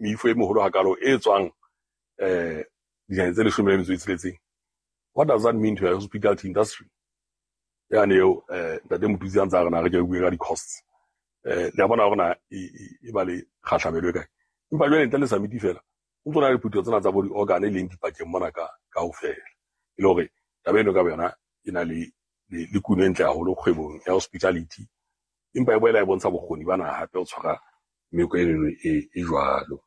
meifo e meholo hakalo e tswang dinaheng tse 16, what does that mean to your hospitality industry? Yane eo ntate Motutsi a ntse a re na re ke re bue ka di-costs. Le a bona hore na e ba le kgahlamelo e kae. Empa jwale ntle le summit fela, o ntso na le diphutheho tsena tsa bo di-organ e leng dipakeng mona ka kaofela. E le hore taba eno ka boyona e na le kuno e ntle haholo kgwebong ya hospitality, empa e boela e bontsha bokgoni ba naha hape ho tshwara meko eno e jwalo.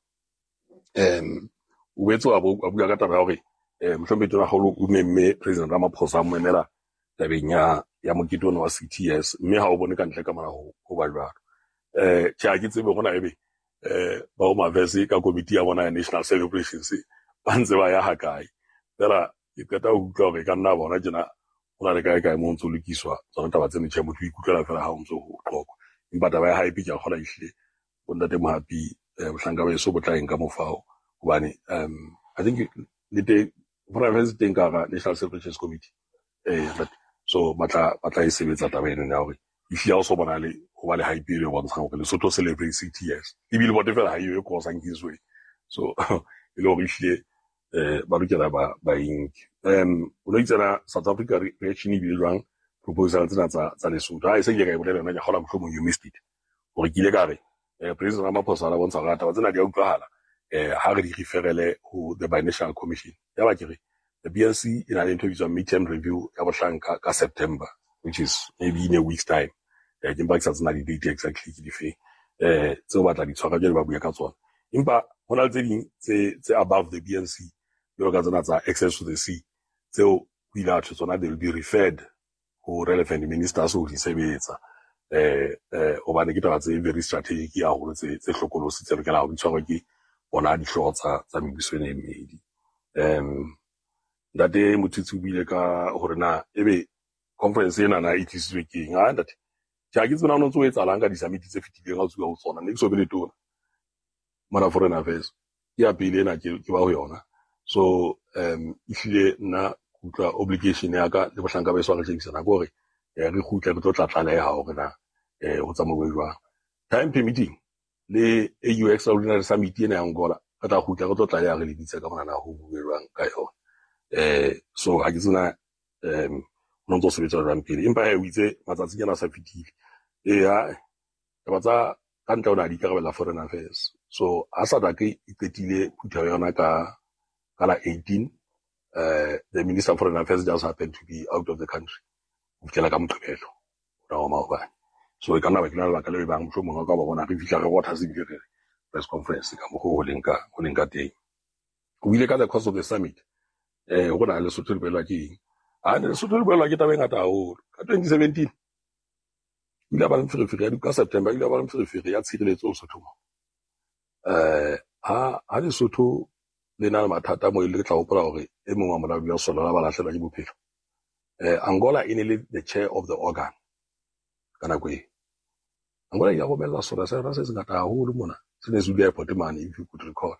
O boetse wa bua ka taba ya hore mohlomphehi Tonakgolo o memme President Ramaphosa a mo emela tabeng ya mokete ona wa CTS, mme ha o bone ka ntle ka mona ho ba jwalo. Tjhe, ha ke tsebe hore na ebe ba Home Affairs ka komiti ya bona ya National Celebrations ba ntse ba ya hakae. Feela ke qeta ho utlwa hore e ka nna bona tjena ho na le kae kae mo ntso lokiswa tsona taba tseno. Tjhe, motho o ikutlwela feela ha o ntso ho qoqwa. Empa taba ya hype ke a kgolwa ehlile bo ntate Mohapi, bohlanka ba heso bo tla e nka mofao, hobane I think le teng Foreign Affairs teng ka hara National Celebrations Committee. So ba tla e sebetsa taba eno ya hore ehlile ha o so bona le ho ba le hype e bontshang hore Lesotho celebrate 60 years, ebile bote fela ha eyo e crossang Kingsway. So e le hore ehlile ba lokela ba inke. O no itsena South Africa reaction e bile jwang proposal tsena tsa Lesotho? Ha e se ke ka e bolela yona, ke kgolwa mohlomong you missed it. Hore ke ile ka re President Ramaphosa a bontsha hore taba tsena di a utlwahala, ha re di referele ho the Binational Commission. Ya ba ke re the BNC e na le ntho e bitswang midterm review ya bohlanka ka September, which is maybe in a week's time. Ke mpa ke sa tsena di-date exactly ke difeng tseo ba tla di tshwara jwale ba bua ka tsona. Empa ho na le tse ding tse above the BNC, jwalo ka tsena tsa access to the sea, tseo ho ile ha thwe tsona they will be referred ho relevant ministers ho di sebetsa. Hobane ke taba tse very strategic haholo, tse hlokolosi, tse lokelang ho di tshwarwe ke bona dihlooho tsa mebuso ena e mmedi. Ntate Motutsi o buile ka hore na ebe conference ena na e tlisitswe ke eng. Ha ntate, tjhe, ha ke tsebe na ho no ntso ho etsahalang ka di-summit tse fetileng ha o tsuwa ho tsona. Ne ke so be le tona mona Foreign Affairs, ke ya pele ena ke ba ho yona. So ehlile nna ke utlwa obligation ya ka le bohlanka ba heso ha re shebisana ke hore re kgutle re tlo tla tlaleha hore na ho tsamauwe jwang. Time permitting le AU Extraordinary Summit ena ya Angola, re tla kgutla re tlo tlaleha re le bitsa ka mona na ho buwe jwang ka yona. So ha ke tsena ho ntso sebetsa jwang pele, empa he o itse matsatsi ana a sa fetile. Eya, taba tsa ka ntle o na di ikarabella Foreign Affairs. So ha SADC e qetile phutheho ya yona ka la 18, the Minister of Foreign Affairs just happened to be out of the country ho fihlela ka Moqebelo ona wa maobane. So e ka nna ba ke na lebaka leo e bang mohlomong ka ba bona re fihla re rotha se bile re press conference ka mokgwa ho leng ka teng. O bile ka the cost of the summit, hore na Lesotho le boelwa ke eng. Ha ne Lesotho le boelwa ke taba e ngata haholo. Ka 2017 o ile a ba le meferefere ya ka September, o ile a ba le meferefere ya tshireletso Lesotho mo. Ha Lesotho le na le mathata mo e le tla hopola hore e mong wa molaodi wa sona ba lahlehelwa ke bophelo. Angola e ne le the chair of the organ ka nako eo. Angola e ile ya romella sona sa yona se sengata haholo mona, se ne se dula airport mane, if you could recall.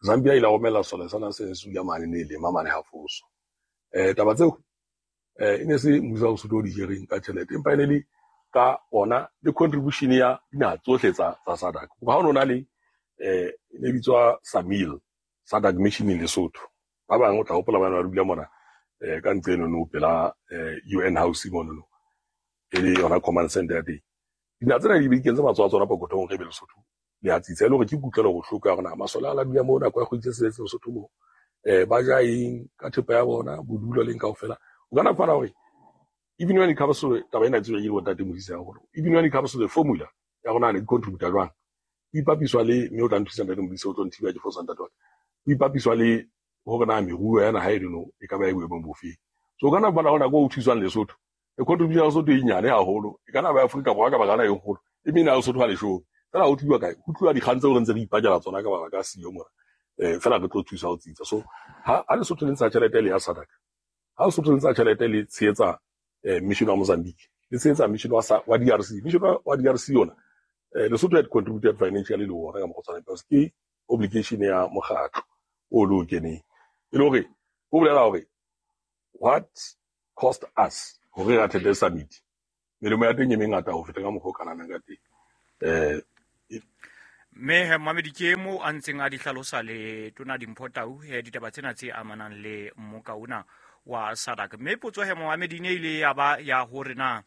Zambia e ile ya romella sona sona se ne se dula mane, ne lema mane ha Foso. Taba tseo e ne se mmuso wa Lesotho o di jereng ka tjhelete, empa e ne le ka ona le contribution ya dinaha tsohle tsa SADC. Hoba ha o no na le e ne bitswa SAMIL, SADC Mission in Lesotho. Ba bang o tla hopola ba ne ba dula mona ka ntlo eno no pela UN House mono no, e le yona command center ya teng. Dinaha tsena di be di kentse matsoho a tsona pokothong hore ebe Lesotho le a tsitsa, e le hore ke kutlwelo bohloko ya hore na masole a la dula moo nako ya kgwedi tse tsheletseng Lesotho moo, ba ja eng ka thepa ya bona, bodulo leng kaofela. O ka na fumana hore even when it comes to taba ena e tsejwa ke bontate Modise haholo, even when it comes to the formula ya rona ne di contributa jwang, ho ipapiswa le, mme o tla nthusa ntate Modise, o tlo nthiba ke fosa ntate wa ka, ho ipapiswa le hore na meruo ya naha eno e ka ba e boemong bofe. So o ka na fumana hore nako o thuswang Lesotho, e contribution ya Lesotho e nyane haholo, e ka na ba Afrika Borwa ka baka la e kgolo, e mene ya Lesotho ha leshome. Fela ho tluwa kae? Ho tluwa dikgang tseo re ntse re ipakela tsona ka mabaka a siyo mona. Fela re tlo thusa ho tsitsa. So ha Lesotho le ntsha tjhelete le ya SADC, ha Lesotho le ntsha tjhelete le tshehetsa mission wa Mozambique, le tshehetsa mission wa DRC, mission wa DRC yona, Lesotho had contributed financially le ona ka mokgwa o tshwanang, because ke obligation ya mokgatlo o le o keneng. E le hore ho bolela hore what cost us hore re attend summit, melemo ya teng e mengata ho feta ka mokgwa o ka nahanang ka teng. Mme he mamedi ke mo a ntseng a di hlalosa le tona Dimpho Tau he ditaba tsena tse amanang le mmoka ona wa SADC. Mme potso he momamedi ne ile ya ba ya hore na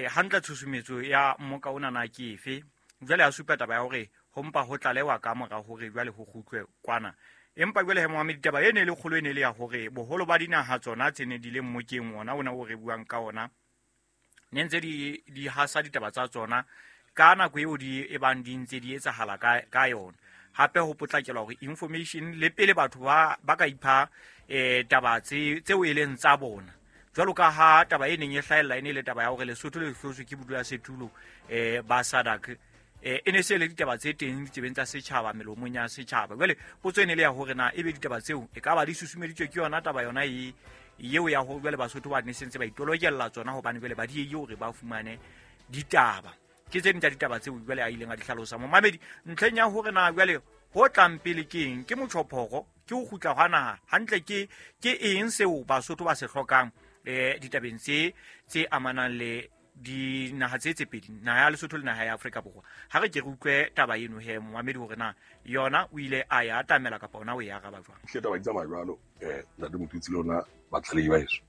hantle tshusumetso ya mmoka ona na ke efe. Jwale a supa taba ya hore ho mpa ho tlalewa ka mora hore jwale ho kgutlwe kwana. Empa jwale he momamedi taba e ne le kgolo e ne le ya hore boholo ba dinaha tsona tse ne di le mmokeng ona ona o re buang ka ona ne ntse di hasa ditaba tsa tsona ka nako eo di e bang di ntse di etsahala ka yona. Hape ho potlakelwa hore information le pele batho ba ka ipha taba tseo e leng tsa bona. Jwalo ka ha taba e neng e hlahella e ne le taba ya hore Lesotho le hlotswe ke bodulasetulo ba SADC, e ne se le ditaba tse teng ditsebeng tsa setjhaba, melomong ya setjhaba. Jwale potso e ne le ya hore na ebe ditaba tseo e ka ba di susumeditswe ke yona taba yona e eo ya hore jwale Basotho ba ne sentse ba itolokella tsona hobane jwale ba diehile hore ba fumane ditaba. Ke tse ding tsa ditaba tseo jwale a ileng a di hlalosa momamedi ntlheng ya hore na jwale ho tlang pele ke eng, ke motjhophoro, ke ho kgutla hwa naha hantle, ke eng seo Basotho ba se hlokang ditabeng tse amanang le dinaha tse pedi, naha ya Lesotho le naha ya Afrika Borwa. Ha re ke re utlwe taba eno he momamedi hore na yona o ile a ya atamela kapa ona o e araba jwang. Hle taba di tsamaya jwalo, ntate Motutsi le lona batlalehi ba heso.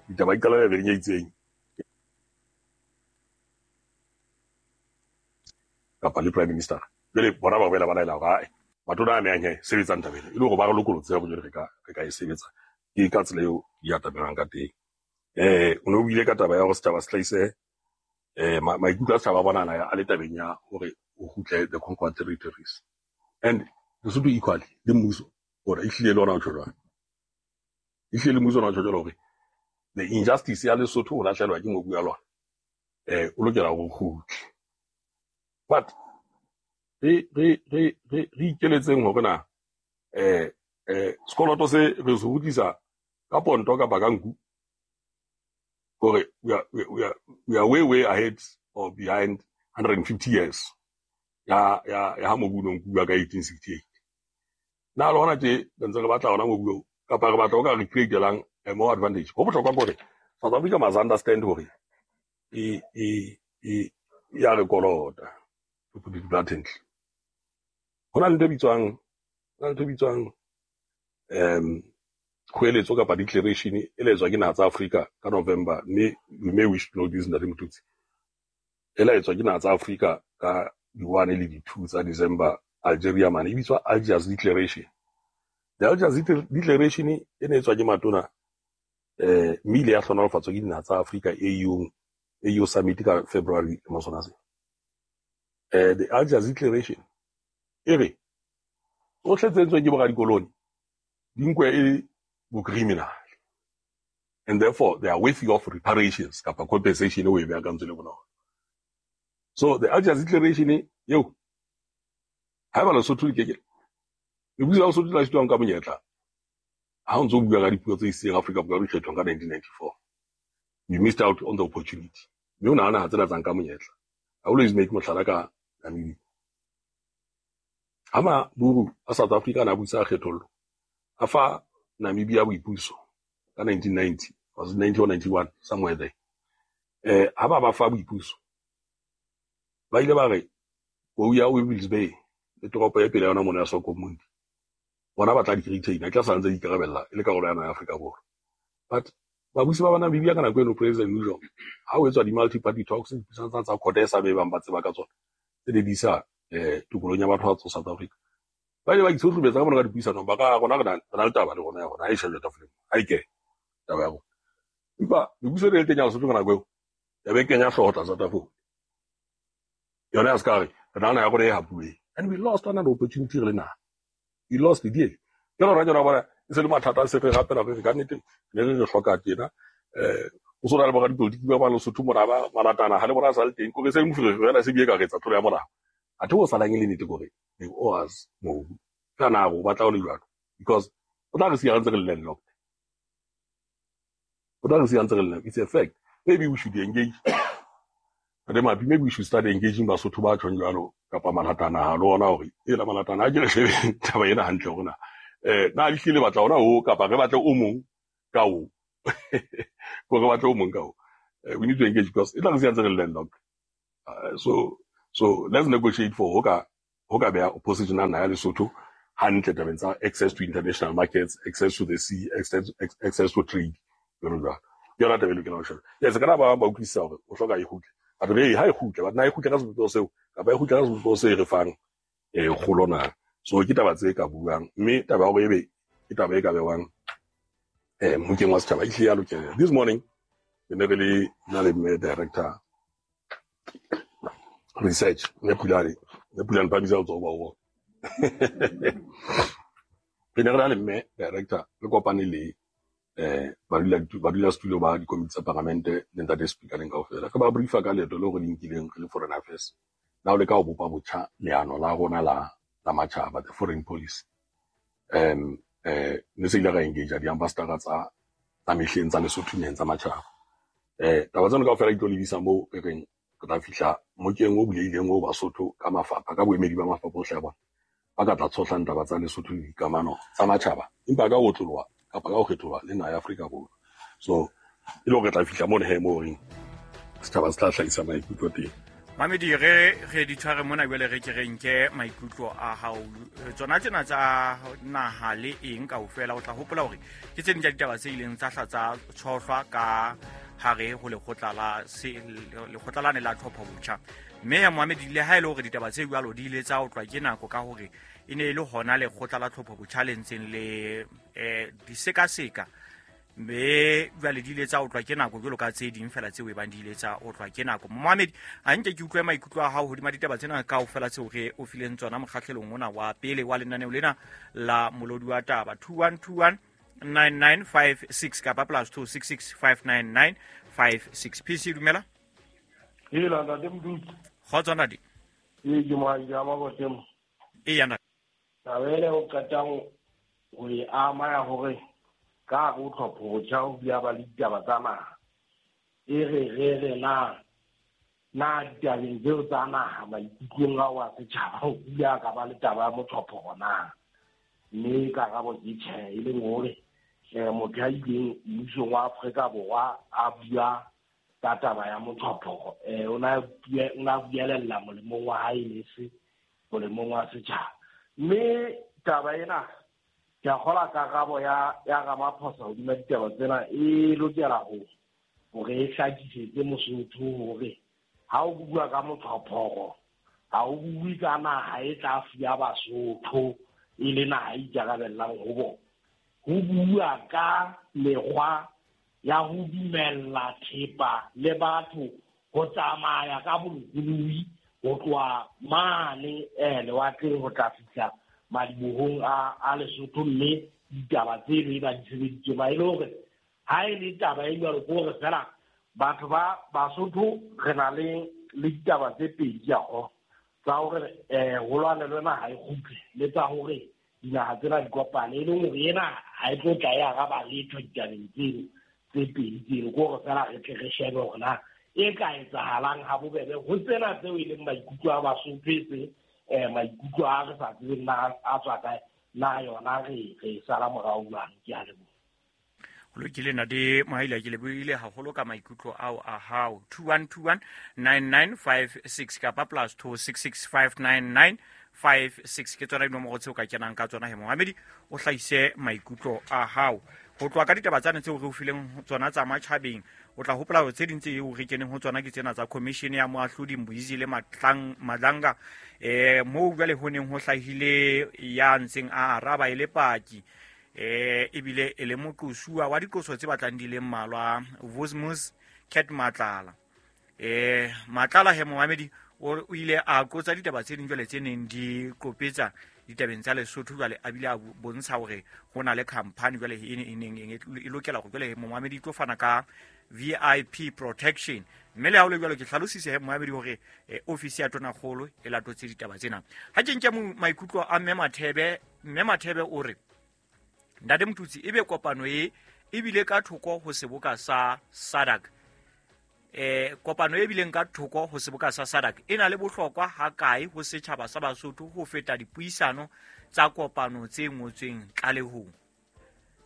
Ditaba di qala leveleng e itseng kapa le Prime Minister. Jwale bona ba boela ba laela hore ae matona a amehang he sebetsang taba ena, e le hore ba re lokolotse hore jwale re ka e sebetsa. Ke ka tsela eo di atamelang ka teng. O ne o buile ka taba ya hore setjhaba se hlahise maikutlo a setjhaba a bonana a le tabeng ya hore o kgutle the conquered territories. And Lesotho equally le mmuso hore ehlile le ona o tjho jwang. Ehlile le mmuso ona o tjho jwalo hore the injustice ya Lesotho o lahlehelwa ke mobu ya lona, o lokela hore o kgutle. But re ikeletseng hore na sekoloto se re se kgutlisa ka ponto kapa ka nku, hore we are way way ahead or behind 150 years ya ha mobu o no nkuwa ka 1868. Na le hona tje re ntse re batla hona mobu oo kapa re batla o ka re create-elang more advantage. Ho bohlokwa ke hore South Africa must understand hore e ya re kolota, to put it bluntly. Ho na le ntho e bitswang kgoeletso kapa declaration e le etswa ke naha tsa Afrika ka November, mme you may wish to know this ntate Motutsi. E la etswa ke naha tsa Afrika ka di-1 le di-2 tsa December Algeria mane, e bitswa Algiers Declaration. The Algiers Declaration e ne etswa ke matona, mme ile ya hlohonolofatswa ke dinaha tsa Afrika AU Summit ka February mo sona se. The Algiers Declaration e re tsohle tse entsweng ke boradikoloni di nkwe e bo criminal, and therefore they are worthy of reparations kapa compensation e o e beakantswe le bonolo. So the Algiers Declaration eo haeba Lesotho le keke lebitso la Lesotho la sitwang ka monyetla ha o ntso bua ka dipuo tse iseng Afrika Borwa di kgethwang ka 1994, you missed out on the opportunity. Mme o nahana ha tsena tsa nka monyetla. I always make mohlala ka Namibia. Ha maburu a South Africa na busa kgethollo, a fa Namibia boipuso ka 1990, was it 90 or 91, somewhere there. Ha ba fa boipuso, ba ile ba re kou ya Wibbles Bay le toropo e pele ya yona mona ya Swakopmund, bona ba tla di retain, e tla sa ntse di ikarabella e le karolo ya naha ya Afrika Borwa. But babusi ba Namibia ka nako eno, President Nujoma, ha ho etswa di-multi-party talks, dipuisano tsa CODESA be bang ba tseba ka tsona, tse di isa tokolong ya batho ba tswa South Africa, ba ile ba itshohlobetsa ka bona ka dipuisanong, ba ka rona re na le taba le rona ya rona, ha e shejwe tafoleng, ha e kene taba ya rona. Empa mebuso e le teng ya Lesotho ka nako eo ya be kenya hlooho tlasa tafole, yona ya se ka re re nahana ya rona e hapuweng. And we lost another opportunity re le naha. We lost the deal. Ke lona jona bona e se le mathata a se re rapela re ka nnete ne re hloka tjena. O so na le boradipolotiki ba ba Lesotho mona ba malatana ha le bona sa le teng, kore se moferefere fela se bie ka re etsa tlolo ya molao. Athe ho salang e le nnete kore they owe us mobu. Ka na o batla ho le jwalo, because o tla re siya re ntse re le landlocked. O tla re siya ntse re le landlocked. It's a fact. Maybe we should engage. Maybe we should start engaging Basotho ba tjhong jwalo kapa malatana ha le ona hore e la malatana ha ke re shebe taba ena hantle hore na na le hlile batla ona o kapa re batle o mong ka o ko re batle o mong ka o. We need to engage because e tla re siya ntse re le landlocked. So let's negotiate for ho ka ho ka beha opposition ya naha ya Lesotho hantle tabeng tsa access to international markets, access to the sea, access to trade, jwalo jwalo. Ke yona taba e lokelang ho sheba. Yes, kana ba bang ba utlwisisa hore o hloka e kgutle, but re ha e kgutle, but na e kgutle ka sebopeho seo kapa e kgutle ka sebopeho se re fang kgolo na? So ke taba tse ka buang, mme taba ya hore ebe ke taba e ka bewang mokeng wa setjhaba e hlile ya lokela. This morning re ne re le nna le mme director research, mme Pulane, mme Pulane phamisa letsoho ba o bona. Re ne re na le mme director, re kopane le badulasetulo ba dikomiti tsa paramente le ntate speaker leng kaofela. Re ba briefa ka leeto leo re le nkileng re le foreign affairs la ho leka ho bopa botjha leano la rona la matjhaba, the foreign policy. Ne se ile ra engage di-ambassador tsa mehleng tsa Lesotho naheng tsa matjhaba. Taba tseno kaofela di tlo lebisa moo re reng re tla fihla mokeng o bulehileng o Basotho ka mafapha, ka boemedi ba mafapha ohle a bona ba ka tla tshohlang taba tsa Lesotho le dikamano tsa matjhaba, empa ka ho otloloha kapa ka ho kgetholoha le naha ya Afrika Borwa. So e le hore re tla fihla mono he moo reng setjhaba se tla hlahisa maikutlo teng. Mamedi, re di tshware mona jwale, re ke re nke maikutlo a hao. Tsona tsena tsa naha le eng kaofela, o tla hopola hore ke tse ding tsa ditaba tse ileng tsa hla tsa tshohlwa ka hare ho lekgotla la lekgotla lane la tlhopho botjha. Mme ya Mohamedi, le ha e le hore ditaba tse jwalo di ile tsa otlwa ke nako ka hore e ne e le hona lekgotla la tlhopho botjha le ntseng le di sekaseka, mme jwale di ile tsa otlwa ke nako jwalo ka tse ding fela tseo e bang di ile tsa otlwa ke nako. Mohamedi, a nke ke utlwe maikutlo a hao hodima ditaba tsena kaofela tseo re o fileng tsona mokgahlelong ona wa pele wa lenaneo lena la Molodi wa Taba. 2121 9956 kapa +266 599 56. PC, dumela. Hela ntate Mdutsi. Kgotso ntate. Ee, ke moahi ya Mabotemo. Eya ntate. Taba ele o qetang ho e ama ya hore ka hare ho tlhopho botjha ho bile ba le ditaba tsa naha, e re re re na ditabeng tseo tsa naha maikutlong ao a setjhaba ho bile a ka ba le taba ya motlhopho na? Mme karabo ke tjhe, e leng hore motho ya ileng mmusong wa Afrika Borwa a bua ka taba ya motlhopho, o na buelella molemong wa hae le se molemong wa setjhaba. Mme taba ena ke a kgolwa karabo ya Ramaphosa hodima ditaba tsena e lokela hore e hlakisetse Mosotho hore ha o bua ka motlhophoro ha o bue ka naha e tla fuwa Basotho e le naha e ikarabellang ho bona. Ho bua ka mekgwa ya ho dumella thepa le batho ho tsamaya ka bolokolohi ho tloha mane lewatleng ho tla fihla madibohong a Lesotho, mme ditaba tseno e ba di sebeditswe ba e le hore ha e le taba e jwalo ke hore fela batho ba Basotho re na le ditaba tse pedi ka go tsa hore ho lwanelwe naha e kgutle le tsa hore dinaha tsena di kopane, e leng hore ena ha e tlo tla e araba letho ditabeng tseno tse pedi tseno, ke hore fela re tle re shebe hore na e ka etsahalang ha bobebe ho tsena tseo e leng maikutlo a Basotho e seng maikutlo a re sa tsebeng na a tswa kae, na yona re sala morao jwang. Ke a leboha. Ho lokile ntate Mohaila, ke lebohile haholo ka maikutlo ao a hao. 2121 9956 kapa +266 599 56 ke tsona dinomoro tseo ka kenang ka tsona he Mohamedi, o hlahise maikutlo a hao ho tloha ka ditaba tsane tseo re o fileng tsona tsa matjhabeng. O tla hopola hore tse ding tse eo re keneng ho tsona ke tsena tsa commission ya moahlodi Mbuizi le Madlanga, moo jwale ho neng ho hlahile ya ntseng a araba e le paki, ebile e le moqosuwa wa diqoso tse batlang di le mmalwa, Vosmus Cat Matlala. Matlala he Mohamedi o ile a qotsa ditaba tse ding jwale tse neng di qopetsa ditabeng tsa Lesotho jwale, a bile a bontsha hore ho na le company jwale e neng e lokela hore jwale Mohamedi e tlo fana ka VIP protection. Mme le ha ho le jwalo ke hlalosise he Mohamedi hore ofisi ya Tonakgolo e latotse ditaba tsena. Ha ke nke maikutlo a Mme Mathebe, Mme Mathebe o re Ntate Motutsi, ebe kopano e ebile ka thoko ho seboka sa SADC. Kopano e bileng ka thoko ho seboka sa SADC e na le bohlokwa ha kae ho setjhaba sa Basotho ho feta dipuisano tsa kopano tse ngotsweng tlalehong?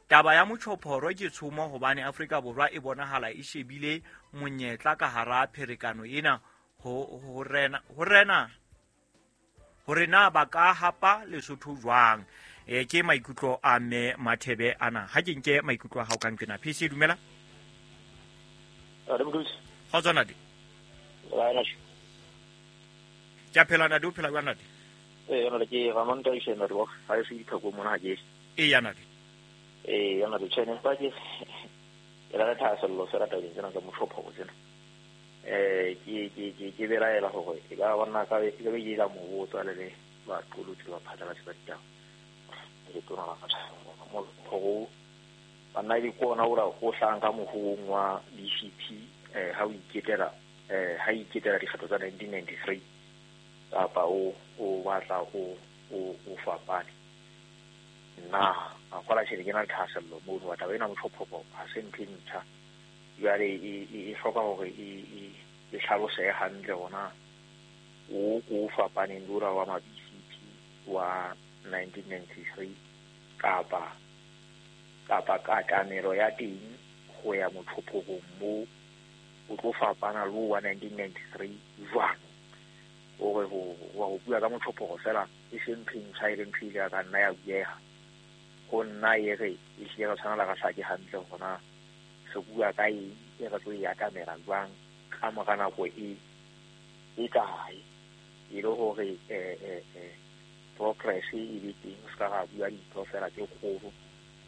Taba ya motjhophoro ke tshomo hobane Afrika Borwa e bonahala e shebile monyetla ka hara pherekano ena ho rena Hore na ba ka hapa Lesotho jwang? Ke maikutlo a mme Mathebe ana. Ha ke nke maikutlo a hao ka nqena. PC dumela. Kgotso ntate. Ke a phela ntate, o phela jwang ntate? Ee, ntate ke Ramon Taishe ntate wa ha e se dithako mona ha ke. Eya ntate. Ee, ntate tjhe ne ba ke ke la thahasello fela tabeng tsena tsa motlhopho tsena. Ke belaela hore e ka bona ka be ke be ke la mo botsa le le baqolotsi ba phatlalatsi ba ditaba. Le tona la motlhopho banna di kona ora o hlahang ka mohong wa BCP ha o iketela ha iketela dikgetho tsa 1993 kapa o batla o fapane. Nna a kwala tjhe ke na le thahasello mono wa taba ena motlhopho ha se ntho e ntjha. Jwale e hloka hore e hlalosehe hantle hona o ko fapaneng le ora wa ma BCP wa 1993 kapa katamelo ya teng ho ya motlhophong mo o tlo fapana le wa 1993 jwang. Hore ho bua ka motlhopho fela e se ntho e ntjha e leng ntho e ile ya ka nna ya bueha. Ho nna e re e hlile re tshwanela re hlake hantle hona re bua ka eng, e re tlo e atamela jwang ka mora nako e kae, e le hore progress e be teng, se ka ra bua dintho fela tse kgolo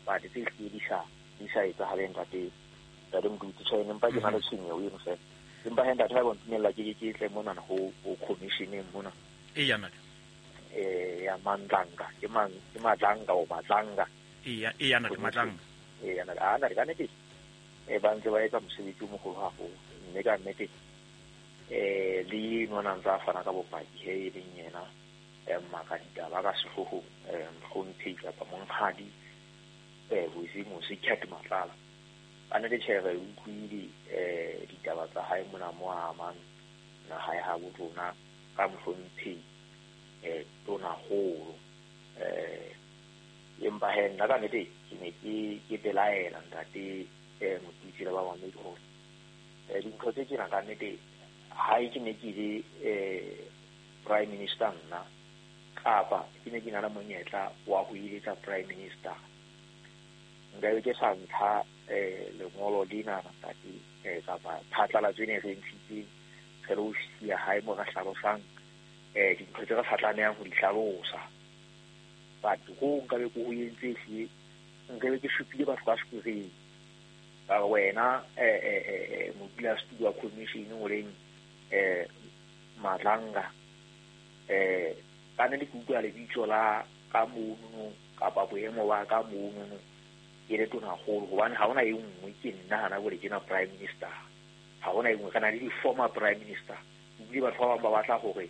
but tse hlile di sa etsahaleng ntate Moduti. Tjhe, empa ke na le tshwenyeho eno fela. Empa he ntate ha ba ntumella ke tle mona ho commissioneng mona. Eya ntate. Ya Mandlanga, ke Matlanga o Matlanga. Eya ntate Matlanga. Eya ntate, a ntate ka nnete ba ntse ba etsa mosebetsi o moholo haholo, mme ka nnete le nona ntse a fana ka bopaki he e leng yena maka ditaba ka sehloohong mohlomphehi kapa monghadi Bozimo Cat Matlala. Ka nnete tjhe re utlwile ditaba tsa hae mona mo amang naha ya habo rona ka mohlomphehi tonakgolo. Empa he nna ka nnete ke ne ke belaela ntate Motutsi le ba mamedi hore dintho tse tjena ka nnete ha ke ne ke le prime minister nna kapa ke ne ke na le monyetla wa ho eletsa prime minister, nka be ke sa ntsha lengolo lena ntate kapa phatlalatso ena e re ntshitseng re le ofisi ya hae mo re hlalosang dintho tse re sa tlamehang ho di hlalosa. But ho nka be ke ho entse ehlile nka be ke supile batho ba sekoreng. Ka re wena modulasetulo wa commission o leng Matlanga ka nnete ke utlwa lebitso la ka monono kapa boemo ba ka monono ke le tonakgolo, hobane ha hona e nngwe ke nna hana jwale ke na prime minister. Ha hona e nngwe, re na le di-former prime minister. Ebile batho ba bang ba batla hore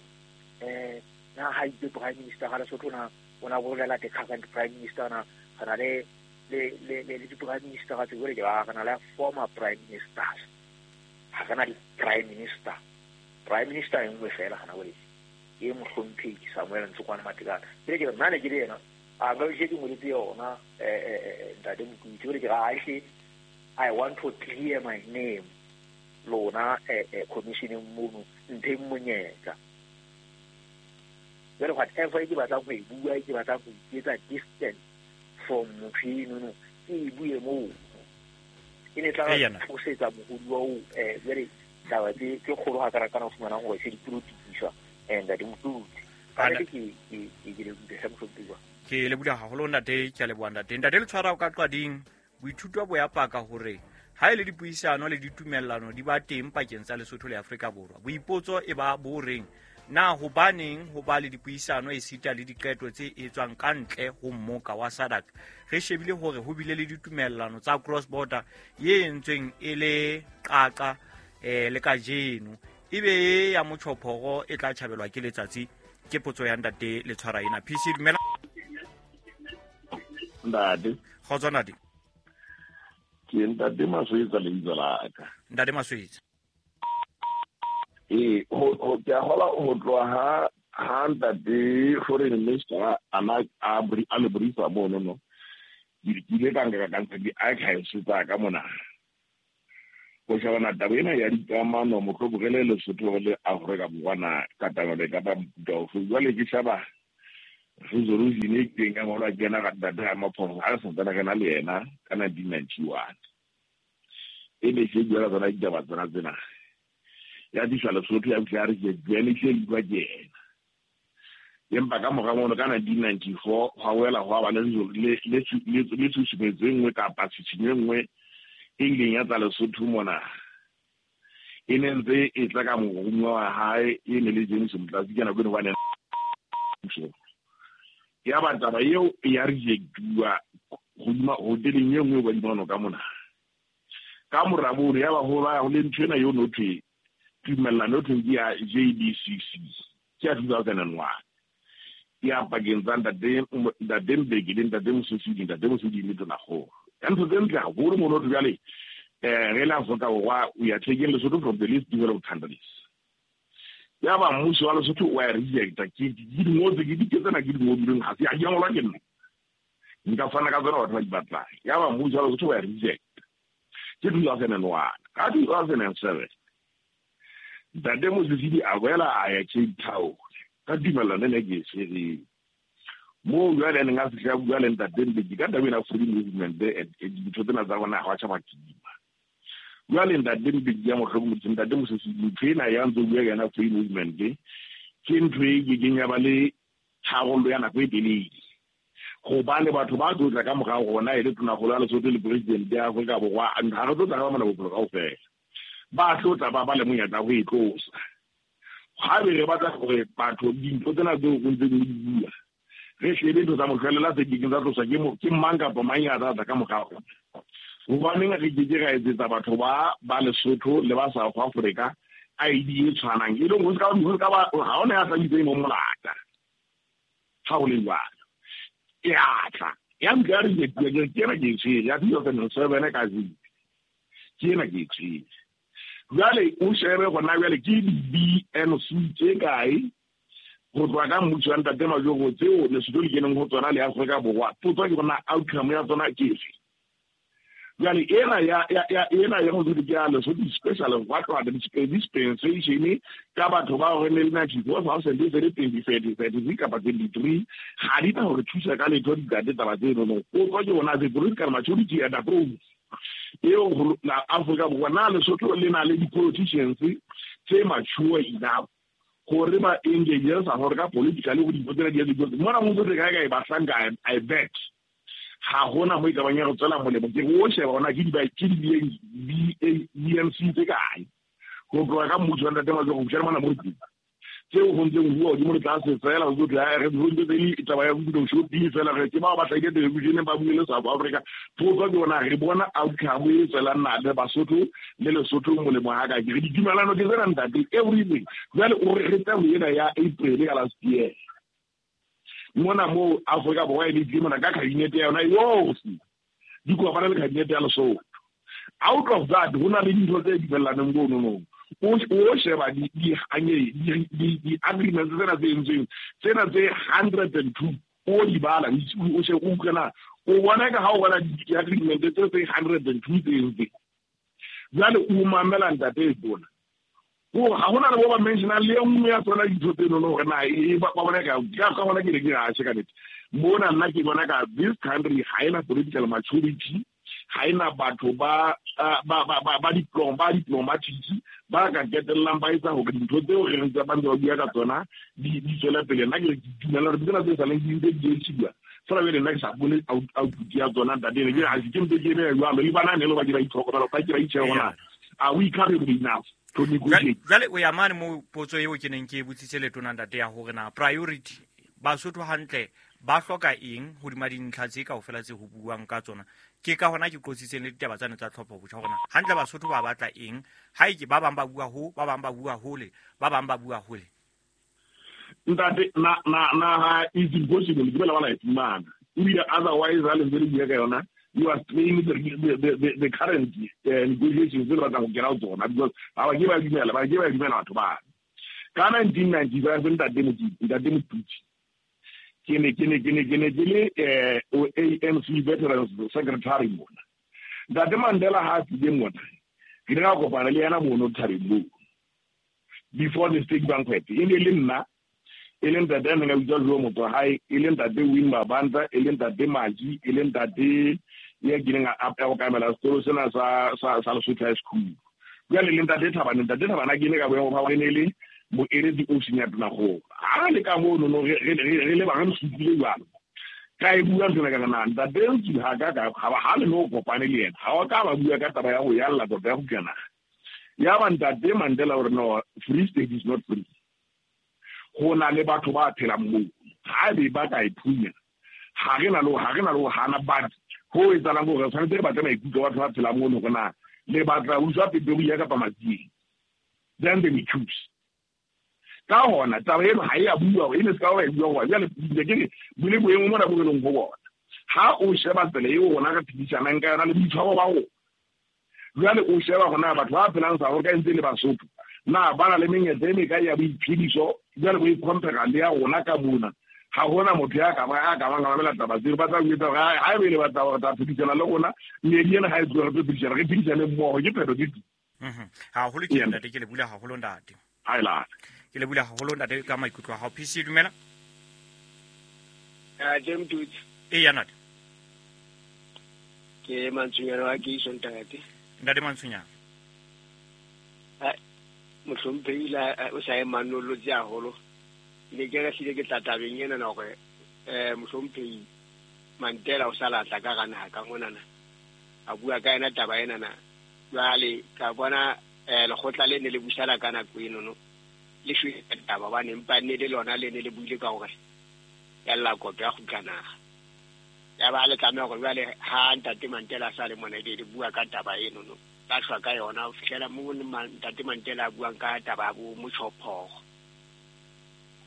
na ha itse prime minister ga Lesotho na o na bolela the current prime minister na re na le di-prime minister tse jwale ke ba re na le former prime ministers, ha re na di-prime minister. Prime minister e nngwe fela hana jwale ke mohlomphehi Samuel Ntsokwana Matekane. Ke ke re nna ne ke le yena a nka ke ngoletse yona ntate Mokutsi, jwale ke re ahle I want to clear my name lona commissioneng mono ntheng monyetla. Jwale whatever e ke batlang ho e bua, ke batlang ho iketsa distance from motho enono, ke e bue moo. E ne tla tlosetsa mohodi wa o jwale taba tse kgolo ha kana o fumanang hore se di polotikiswa ntate Mokutsi. Ka nnete ke lebohile hle mohlomphehi. Ke lebohile haholo ntate, ke a leboha ntate. Ntate le tshwara ka qading boithuto bo ya paka hore ha e le dipuisano le ditumellano di ba teng pakeng tsa Lesotho le Afrika Borwa. Boipotso e ba bo reng na hobaneng ho ba le dipuisano esita le diqeto tse etswang ka ntle ho mmoka wa SADC? Re shebile hore ho bile le ditumellano tsa cross border ye entsweng e le qaqa le kajeno, ebe ya motjhophoro e tla tjhabelwa ke letsatsi. Ke potso ya ntate le tshwara ena. PC dumela. Ntate. Kgotso ntate. Ke ntate Maswetsa lebitso la ka. Ntate Maswetsa. Ho ke a hola ho tloha ha ntate foreign minister ana a le brifa mono no. Ke ile ka nka ka ntsha di-archives tsa ka mona. Go shebana taba ena ya dikamano mohlomong re le Lesotho le Afrika Borwa na katamelo e ka ba mofuta ofe. Jwale ke sheba resolution e kileng ya ngolwa ke yena ka ntate Ramaphosa ha re santsane re na le yena ka 1991. E ne se bua ka tsona ditaba tsona tsena. Ya tliswa Lesotho ya fihla ya re ke e tlile e bua ke yena. Empa ka mora mono ka 1994 hwa boela hwa ba le tshusumetso e nngwe kapa tshitshinyo e nngwe e ileng ya tla Lesotho mona. E ne ntse e tla ka moromuwa wa hae e ne le James Motlatsi ka nako eno hobane ya ba taba eo ya rejectuwa hodima hoteleng e nngwe badimano ka mona. Ka mora mono ya ba ho ba le ntho ena eo no thwe tumellano thweng ke ya JBCC ke ya 2001 ya pakeng tsa ntate Mbeki le ntate Mososudi, ntate Mososudi le Tonakgolo. Ya ntho tse ntle haholo mono thwe jwale re le Afrika Borwa we are taking Lesotho from the least developed countries. Ya ba mmuso wa Lesotho wa rejecta ke di ngotse ke di tsena ke di ngodileng ha se a di ngolwa ke nna. Nka fana ka tsona batho ba di batlang. Ya ba mmuso wa Lesotho wa rejecta. Ke 2001. Ka 2007 ntate Mosisili a boela a ya Cape Town ka tumellano ena ke e tshwereng. Moo jwale a neng a fihla a bua le ntate Mbeki ka taba ena free movement and dintho tsena tsa bona ha wa tjha makima. Jwale ntate Mbeki ya mohlokomedisi ntate Mosisili ntho ena ya ntse o bua ka yona free movement ke ntho e kekeng ya ba le tharollo ya nako e telele. Hobane batho ba tlo tla ka morao rona e le tonakgolo ya Lesotho le president ya Afrika Borwa ha re tlo tla ka ba mona bophelo kaofela. Ba tlo tla ba le monyetla ho e tlosa. Ha be re batla hore batho dintho tsena tseo o ntseng o di bua re shebe ntho tsa mohlwelela tse kekeng tsa tloswa ke mang kapa mang ya tla tla ka morao rona. Hobaneng re keke ra etsetsa batho ba Lesotho le ba South Africa ID e tshwanang e leng ho se ka ba ha hona ya tla mo molata ha ho le jwalo. E a tla ya nka re ke ena ke e tshwere ya 2007 ka zip ke ena ke e tshwere. Jwale o shebe gona jwale ke di-BNC tse kae go tloha ka mmuso wa ntate Majoro tseo Lesotho le keneng ho tsona le Afrika Borwa. Potso ke bona outcome ya tsona ke efe. Jwale ena ya go ke ya Lesotho special wa tloha dispensation ka batho ba hore ne le 94,033 kapa 23 ha di na hore thusa ka letho ditate taba tseno no. Potso ke bona the political maturity and approach eo la Afrika Borwa na Lesotho le na le di-politicians tse mature enough gore ba engage sa gore ka politically go dintho tsena di ya di mona mo ntse kae kae bahlanka I bet ha hona mo e ka bang ya go tswela molemo ke o sheba ona ke di-BNC tse kae go tloha ka mmuso wa ntate Majoro go fihla mona mo re teng tseo ho ntseng ho bua hodimo le tlase fela ho tla re ho ntse le taba ya go shopping fela re ke bao ba hlahile television ba bue le South Africa. Potso ke bona re bona outcome e tswelang na le Basotho le Lesotho molemo ha ka ke re ditumelano ke tsena ntate everything. Jwale o re tla ho ena ya April ka last year mona mo Afrika Borwa e le tlile mona ka cabinet ya yona yohle di kopana le cabinet ya Lesotho. Out of that ho na le dintho tse dumellaneng mono no. O sheba di-agreements tsena tse entsweng tsena tse 102 o di bala o she o utlwe o bona ka ha o bona di-agreement tse 102 tse entsweng. Jwale o mamela ntate e bona ha hona le bo ba mentionang le e nngwe ya tsona dintho tseno no hore na e ba bona ka bona ke ne ke atjhe ka nnete. Mona nna ke bona ka this country ha ena political maturity, ha ena batho ba diplomatic ba ka ketellang ba etsa hore dintho tseo re ntse ba ntse ba bua ka tsona di tswele pele. Nna ke dumela hore tsena tse saleng di ntse di etsuwa fela jwale nna ke sa bone output ya tsona ntate ene ke ha ke ntse ke eme jwalo le bana ne le ba ke ba itlhokomela ba ke ba itjhebe hore na are we capable enough to negotiate. Jwale o ya mane mo potso eo ke neng ke e botsitse letona ntate ya hore na priority Basotho hantle ba hloka eng hodima dintlha tse kaofela tse ho buang ka tsona. Ke ka hona ke qotsitseng le ditaba tsane tsa tlhopho botjha hore na hantle Basotho ba batla eng ha e ke ba bang ba bua ho ba bang ba bua hole ba bang ba bua hole. Ntate na is impossible ke bela bala e fumana ebile otherwise ha le ntse le bua ka yona you are straining the current negotiations tse le batlang ho kena ho tsona because ha ba ke ba dumela batho ba ka 1995 ntate Motutsi ke ne ke le ANC veterans secretary mona. Ntate Mandela ha tlile mona Ke ile ka kopana le yena mono thabeng moo before the state banquet. E ne le nna, e le ntate a neng a bitswa Joe Motsohae, e le ntate Win Mabanta, e le ntate Maji, e le ntate ya kileng a okamela sekolo sena sa Lesotho High School. Jwale le ntate Thabane, ntate Thabane a kene ka boemo ba hore ne le moeletsi ofising ya Tonakgolo. Ha le ka mono no re le ba re supile jwalo. Ka e bua ntho ka na ntate Ntsu ha ka ka ha le no kopane le yena. Ha o ka ba bua ka taba ya ho yalla tota ya go kena. Ya ba ntate Mandela hore no, Free State is not free. Ho na le batho ba phelang moo. Ha be ba ka e phunya. Ha re na le hana but ho etsahalang hore tshwanetse re batle maikutlo batho ba phelang mono hore na le batla utswa Pretoria kapa Matsieng. Then they will choose. Ka hona taba eno ha e a bua, e ne se ka ba e bua hore jwale ke re bole boemo mona bo re leng ho bona. Ha o sheba tsela eo rona re phedisanang ka yona le boitshwaro ba rona. Jwale o sheba hore na batho ba phelang South Africa ntse le Basotho, na ba na le menyetla e mekae ya boiphediso, jwale bo i-compare le ya rona ka mona. Ha hona motho ya ka ba a mamela taba tseo, ba tla o etsa hore ha ebe le batla hore tla phedisana le rona, meedi ena ha e tlohe re tlo phedisana, re phedisane mmoho, ke phetho ke tu. Haholo ke ntate, ke le bula haholo ntate. Ha e late. Ke le bula haholo ntate ka maikutlo a hao. PC dumela. James Tutsi. Eya ntate. Ke Mantsonyana wa Keiso ntate. Ntate Mantsonyana. Mohlomphehi la o sa e manollotse haholo. Ne ke re hlile ke tla tabeng ena na hore mohlomphehi Mandela o sa latla ka hara naha ka monana. A bua ka yena taba ena na. Jwale ka bona lekgotla le ne le busana ka nako eno no. Le shwele taba hobane empa ne le lona le ne le buile ka hore ya lla koto ya kgutla naha. Ya ba le tlameha hore jwale ha ntate Mandela a sa le mona le bua ka taba eno no. Ba shwa ka yona ho fihlela mo ntate Mandela a buang ka taba ya bo motjhophoro.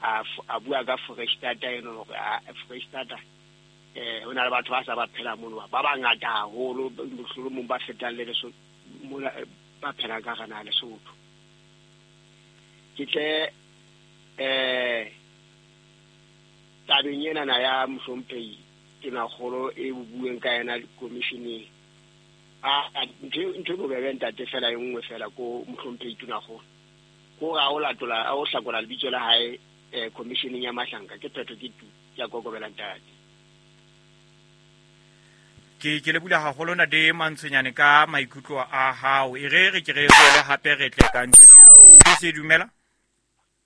A bua ka Foreistatata eno hore Foreistatata ho na le batho ba sa ba phela mono ba bangata haholo mohlomong ba fetang le Lesotho mona ba phelang ka hara naha Lesotho. Ke tle tabeng ena na ya mohlomphehi Tonakgolo e bueng ka yena commissioning. Ntho e bobebe ntate fela e nngwe fela ko mohlomphehi Tonakgolo. Ko re ha o latola, ha o hlakola lebitso la hae commissioning ya Mahlanka, ke phetho ke tu ya kokobela ntate. Ke le bula haholo ntate Mantsonyane ka maikutlo a hao. E re ke re boele hape re tle ka ntlena. Se dumela?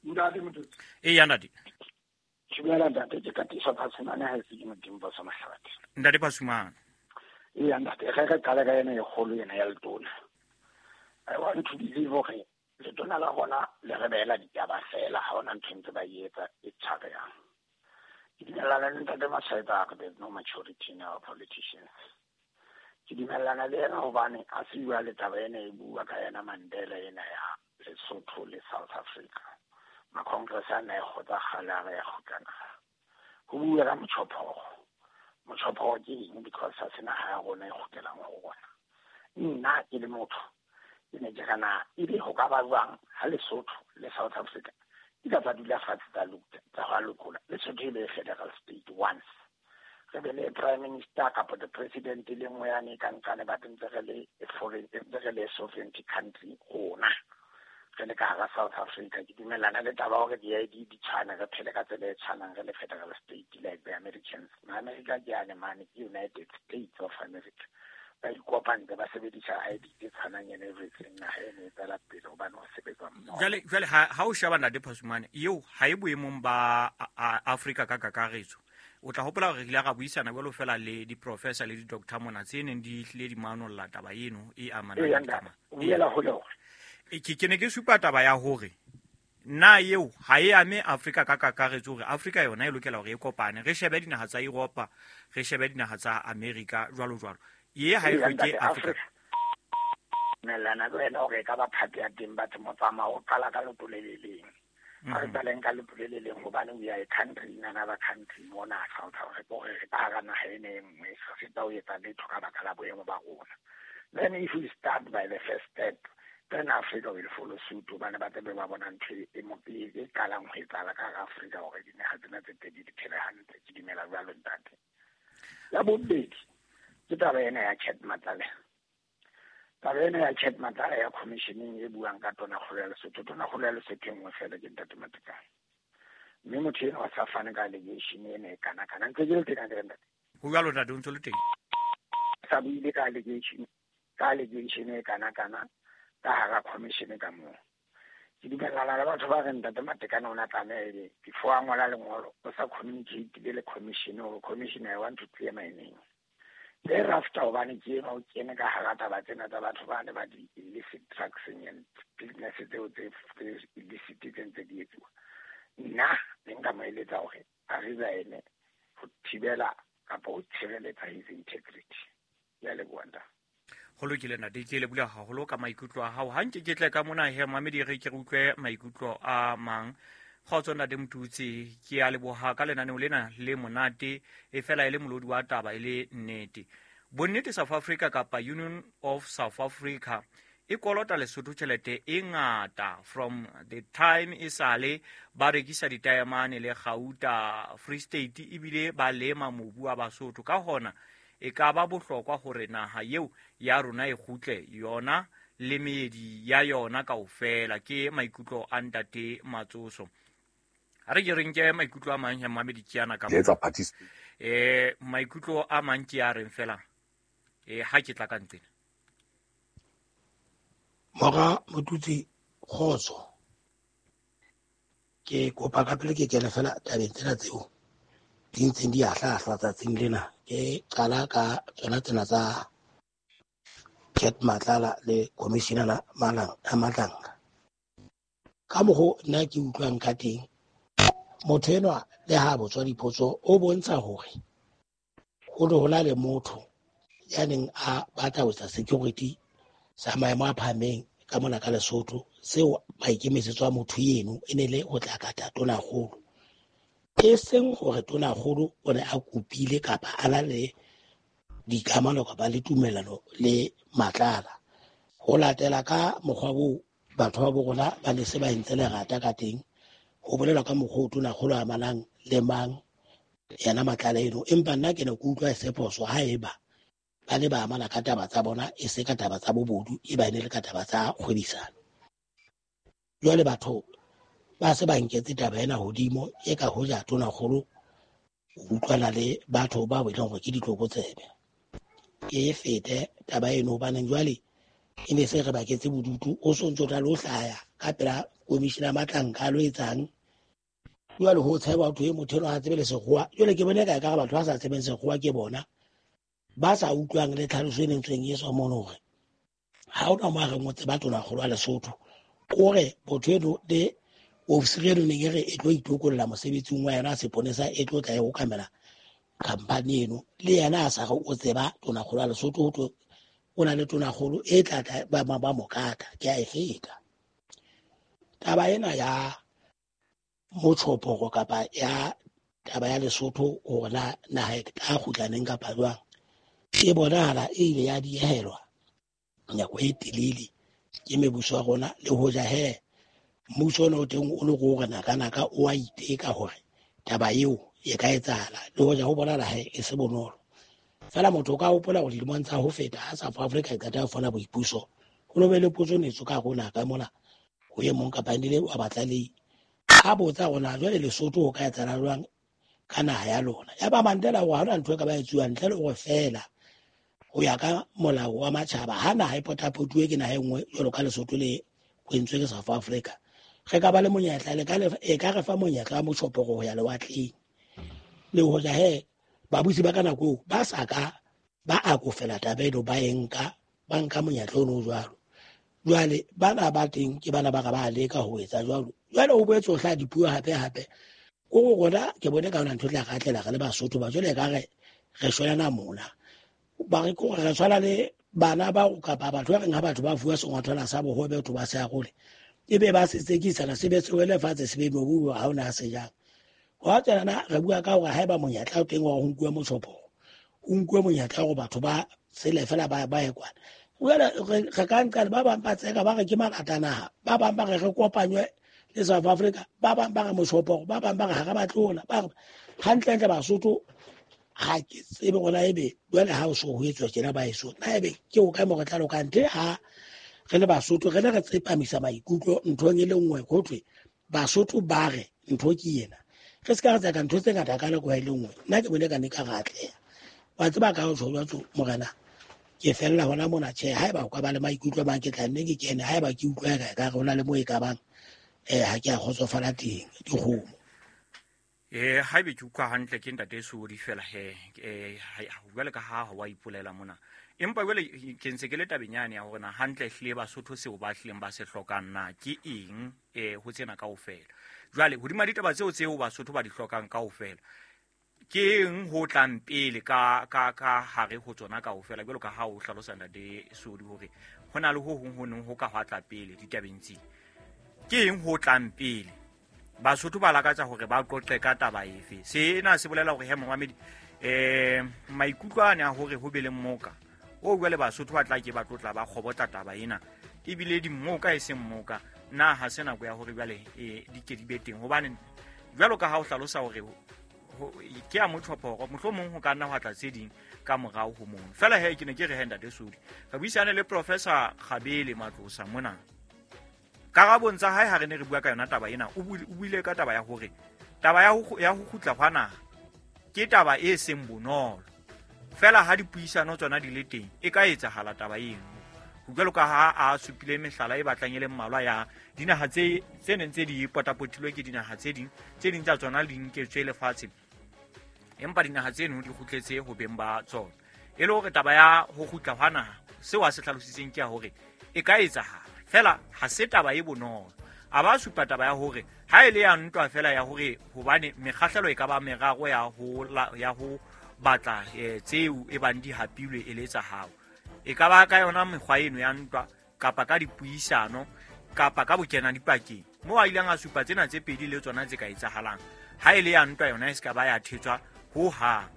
Ntate Mototsi. Eya ntate. Dumela ntate, ke Katiso Phasumane ha e se ke Modimo ba sa Mahlabathe. Ntate Phasumane. Eya ntate, re qale ka ena e kgolo ena ya letona. I want to believe hore letona la rona le re beela ditaba fela, ha hona ntho ntse ba e etsa e tshwarehang. Ke dumellana le ntate Mashaetsa a re there's no maturity in our politicians. Ke dumellana le yena hobane a se bua le taba ena e bua ka yena Mandela ena ya Lesotho le South Africa. Ma-congress a na e kgotsa kgale a re ya kgutla naha. Ho bua ka motjhophoro. Motjhophoro ke eng? Because ha se naha ya rona e kgutlelang ho rona. Nna ke le motho ke ne ke re na ebe ho ka ba jwang ha Lesotho le South Africa di ka tsa dula fatshe tsa tsa hwa lokola. Lesotho e be federal state once. Re be le prime minister kapa the president e le nngwe yane ka nqane but ntse re le foreign, ntse re le sovereignty country rona. Re le ka hara South Africa. Ke dumellana le taba hore di-ID di tshwane, re phele ka tsela e tshwanang re le federal state like the Americans. Ma-America ke ane mane, ke United States of America. Ba ikopantse ba sebedisa ID tse tshwanang and everything. Naha eno e tswela pele hobane ho sebetswa mmoho. Jwale ha o sheba ntate Phasumane, eo ha e boemong ba Afrika ka kakaretso. O tla hopola hore re ile ra buisana jwalo fela le di-professor le di-doctor mona tse neng di hlile di manolla taba eno e amanang le dikamano. O boela hole hore. Ke ne ke supa taba ya hore na eo ha e ame Afrika ka kakaretso, hore Afrika yona e lokela hore e kopane. Re shebe dinaha tsa Europa, re shebe dinaha tsa Amerika jwalo jwalo. Ye ha e hloke Afrika. Dumellana le wena hore e ka ba part ya teng, batho motsamao o qala ka leoto le le leng. Ha re qaleng ka leoto le le leng hobane we are a country in another country mona South Africa, hore re ka hara naha ena e nngwe, re feta ho etsa letho ka baka la boemo ba rona. Then if we start by the first step, then Africa will follow suit hobane ba tlabe ba bona ntho e qalang ho etsahala ka hara Afrika hore dinaha tsena tse pedi di phele hantle. Ke dumela jwalo ntate. Ya bobedi ke taba ena ya Cat Matlala. Taba ena ya Cat Matlala ya commissioning e buang ka tonakgolo ya Lesotho, tonakgolo ya Lesotho e nngwe fela ke Ntate Matekane. Mme motho ena wa sa fane ka allegation ena e kana kana. Ntse ke le teng akere ntate? Ho jwalo ntate, o ntse o le teng. Sa buile ka allegation, ka allegation e kana kana ka hara commission ka moo. Ke dumellana le batho ba reng Ntate Matekane o na tlameha ebe before a ngola lengolo o sa communicate le commission hore commission I want to clear my name. Thereafter hobane ke enwa o kene ka hara taba tsena tsa batho ba ne ba di illicit drugs and business tseo tse illicit tse ntse di etsuwa. Nna ne nka mo eletsa hore a resign ho thibela kapa ho tshireletsa his integrity. Ke a leboha ntate. Ho lokile ntate, ke lebohile haholo ka maikutlo a hao. Ha nke ke tle ka mona he mamedi re ke re utlwe maikutlo a mang. Kgotso ntate Motutsi, ke a leboha ka lenaneo lena le monate, e fela e le molodi wa taba e le nnete. Bonnete South Africa kapa Union of South Africa e kolota Lesotho tjhelete e ngata from the time e sale ba rekisa ditaemane le gauta Free State ebile ba lema mobu wa Basotho. Ka hona e ka ba bohlokwa hore naha eo ya rona e kgutle yona le meedi ya yona kaofela. Ke maikutlo a ntate Matsoso. Ha re ke re nke maikutlo a mang ya mamedi ke ana ka Ke etsa participate. Maikutlo a mang ke a reng fela ha ke tla ka nqena. Mora Motutsi, kgotso. Ke kopa ka pele ke kene fela tabeng tsena tseo di ntseng di ahlaahlwa tsatsing lena. Ke qala ka tsona tsena tsa Cat Matlala le Commissioner Malang a Matlanga. Ka mokgo nna ke utlwang ka teng, motho enwa le ha botswa dipotso o bontsha hore ho ne ho na le motho ya neng a batla ho etsa security sa maemo a phahameng ka mona ka Lesotho, seo maikemisetso a motho eno e ne le ho tla kata tonakgolo. E seng hore tonakgolo o ne a kopile kapa a na le dikamano kapa le tumellano le Matlala. Ho latela ka mokgwa oo batho ba bo rona ba ne se ba entse lerata ka teng, ho bolelwa ka mokgwa o tonakgolo a amanang le mang yena Matlala eno. Empa nna ke ne ke utlwa e se phoso haeba ba ne ba amana ka taba tsa bona, e se ka taba tsa bobodu, e ba ne le ka taba tsa kgwebisano. Jwale batho ba se ba nketse taba ena hodimo, e ka hoja tonakgolo o utlwana le batho ba e leng hore ke ditlokotsebe. E fete taba eno, hobaneng jwale e ne se re baketse bodutu, o so ntso tla lo hlaya ka pela commissioner Matlanka a lo etsang. Jwale ho tsheba batho e motho enwa ha tsebe le sekgowa. Jwale ke bone ka ekare batho ba sa tsebeng sekgowa ke bona ba sa utlwang le tlhaloso e nentsweng e tswa mono hore ha hona mo a reng o tseba tonakgolo wa Lesotho. O re motho eno le ofisiri eno neng e re e tlo itokolla mosebetsing wa yona seponesa e tlo tla e okamela khampani eno, le yena a sa re o tseba tonakgolo wa Lesotho, ho thwe o na le tonakgolo e tla tla ba mo kata. Ke a e feta taba ena ya motjhoporo kapa ya taba ya Lesotho hore na naha e tla kgutla neng kapa jwang. E bonahala e ile ya diehelwa nako e telele ke mebuso ya rona, le hoja he mmuso ona o teng o le go re naka-naka o a iteka hore taba eo e ka etsahala, le hoja ho bonahala he e se bonolo. Fela motho o ka hopola hore dilemong tsa ho feta ha South Africa e qeta ho fumana boipuso, ho no be le potso netso ka rona ka mona ho e mong kapa le wa batlalehi a botsa hore na jwale Lesotho ho ka etsahala jwang ka naha ya lona. Ya ba Mandela hore ha hona ntho e ka ba etsuwang ntle le hore fela ho ya ka molao wa matjhaba ha naha e potapotuwe ke naha e nngwe jwalo ka Lesotho le kwentswe ke South Africa, re ka ba le monyetla, le ka le, e ka re fa monyetla wa motjhoporo ho ya lewatleng. Le hoja he babusi ba ka nako eo ba sa ka ba akofela taba eno, ba e nka, ba nka monyetla ono o jwalo. Jwale bana ba teng ke bana ba ka ba leka ho etsa jwalo. Jwale ho boetse ho hlaha dipuo hape hape. Ko go rona ke bone ka hona ntho e tla re atlela re le Basotho ba jwale ka re re shwelana mona. Ba re ke hore re tshwana le bana ba kapa batho ba reng ha batho ba fuwa sengwathwana sa bohobe batho ba se arole, e be ba se tsekisana, se be se wele fatshe, se be mobu ha hona se jang. Hwa tsena re bua ka hore haeba monyetla o teng wa ho nkuwe motjhoporo, ho nkuwe monyetla hore batho ba sele fela ba ye kwana. Jwale re ka nqa ba bang ba tseka ba re ke malata naha, ba bang ba re re kopanywe le South Africa, ba bang ba re motjhoporo, ba bang ba re ha re batle hona, ba re hantlentle Basotho Ga ke tsebe gona ebe jwale ha o so ho etswa tjena ba eso na ebe ke o kae mo re tla loka ntle ha re le Basotho re ne re tsepamisa maikutlo nthong e le nngwe ho thwe Basotho ba re ntho ke ena re se ka re tsaka ntho tse ngata ka nako e le nngwe. Nna ke bone ka ne ka re atleha wa tseba ka ho tjho jwatso morena ke fella hona mona. Tjhe, haeba o ka ba le maikutlo a mang ke tla nne ke kene, haeba ke utlwa ka ka re hona le mo e ka bang ha ke a kgotsofala teng dikgomo. Haebe ke utlwa hantle ke ntate Sodi fela he jwale ka ha wa ipolela mona, empa jwale ke ntse ke le tabeng yane ya hore na hantle hlile Basotho seo ba hlileng ba se hlokang na ke eng ho tsena kaofela. Jwale hodima ditaba tseo Basotho ba di hlokang kaofela ke eng ho tlang pele ka ka ka hare ho tsona kaofela, jwalo ka ha o hlalosa ntate Sodi hore ho na le ho hong ho neng ho ka hwa tla pele ditabeng tse. Ke eng ho tlang pele? Basotho ba lakatsa hore ba qoqe ka taba efe? Sena se bolela hore he momamedi maikutlo a ne a hore ho be le mmoka o jwale Basotho ba tla ke ba tlotla ba kgobotla taba ena ebile di mmoka e seng mmoka, na ha se nako ya hore jwale di ke di be teng? Hobane jwalo ka ha o hlalosa hore ke a motjhophoro, mohlomong ho ka nna hwa tla tse ding ka morao ho mono. Fela he ke ne ke re he ntate Sodi re buisane le Professor Kgabele Matlosa mona. Karabong tsa hae ha re ne re bua ka yona taba ena, o buile ka taba ya hore taba ya ho kgutla hwa naha ke taba e seng bonolo. Fela ha dipuisano tsona di le teng e ka etsahala taba eno. Jwalo ka ha a supile mehlala e batlang e le mmalwa ya dinaha tse neng tse di potapotilwe ke dinaha tse ding, tse ding tsa tsona di nketswe lefatshe, empa dinaha tseno di kgutletse ho beng ba tsona. E le hore taba ya ho kgutla hwa naha seo a se hlalositseng ke ya hore e ka etsahala, fela ha se taba e bonolo. A ba supa taba ya hore ha e le ya ntwa fela ya hore hobane mekgahlelo e ka ba meraro ya ho batla tseo e bang di hapilwe e le tsa hao, e ka ba ka yona mekgwa eno ya ntwa kapa ka dipuisano kapa ka bokena dipakeng. Moo a ileng a supa tsena tse pedi le tsona tse ka etsahalang. Ha e le ya ntwa yona e se ka ba ya thetswa ho hang,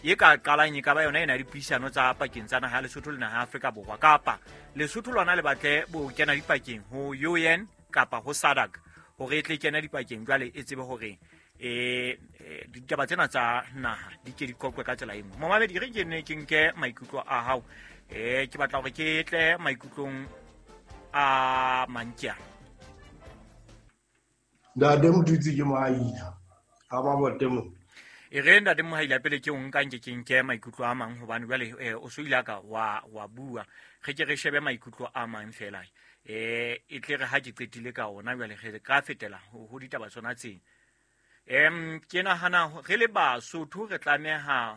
e ka qalang e ka ba yona ena dipuisano tsa pakeng tsa naha ya Lesotho le naha ya Afrika Borwa, kapa Lesotho lona le batle bo kena dipakeng ho UN kapa ho SADC hore e tle kena dipakeng jwale e tsebe hore ditaba tsena tsa naha di ke di qoqwe ka tsela e nngwe. Momamedi re ke ne ke nke maikutlo a hao, ke batla hore ke tle maikutlong a Mankia. Ntate Motutsi ke Mohaila ha mabote mo. E re ntate Mohaila pele ke o nka nke ke nke maikutlo a mang hobane jwale o so ile ka wa bua, re ke re shebe maikutlo a mang fela e tle re ha ke qetile ka ona jwale re ka fetela ho ditaba tsona tseng. Ke nahana re le Basotho re tlameha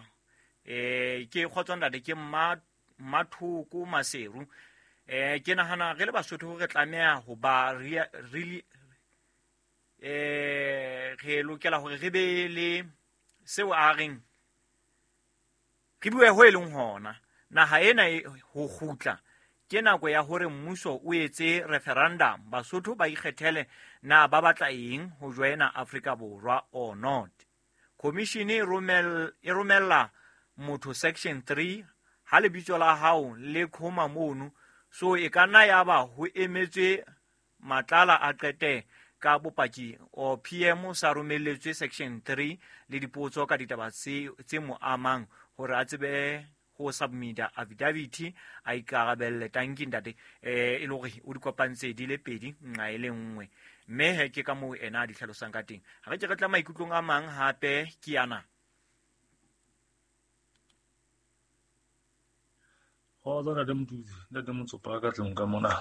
ke kgotso ntate ke Mmathoko Maseru. Ke nahana re le Basotho re tlameha ho ba re lokela hore re be le seo a reng re bue ho e leng hona. Naha ena ho kgutla ke nako ya hore mmuso o etse referendum, Basotho ba ikgethele na ba batla eng ho joina Afrika Borwa or not. Commission e romella motho section 3 ha lebitso la hao le khoma mono, so e ka nna ya ba ho emetswe Matlala a qete ka bopaki o PM sa romelletswe section 3 le dipotso ka ditaba tse mo amang hore a tsebe ho submit affidavit a ikarabelle. Tanki ntate e le hore o di kopantse di le pedi nqa e le nngwe, mme he ke ka moo ena a di hlalosang ka teng. Ha re ke re tla maikutlong a mang hape ke ana. Kgotso ntate Motutsi, ntate Motsopa ka tlung ka mona.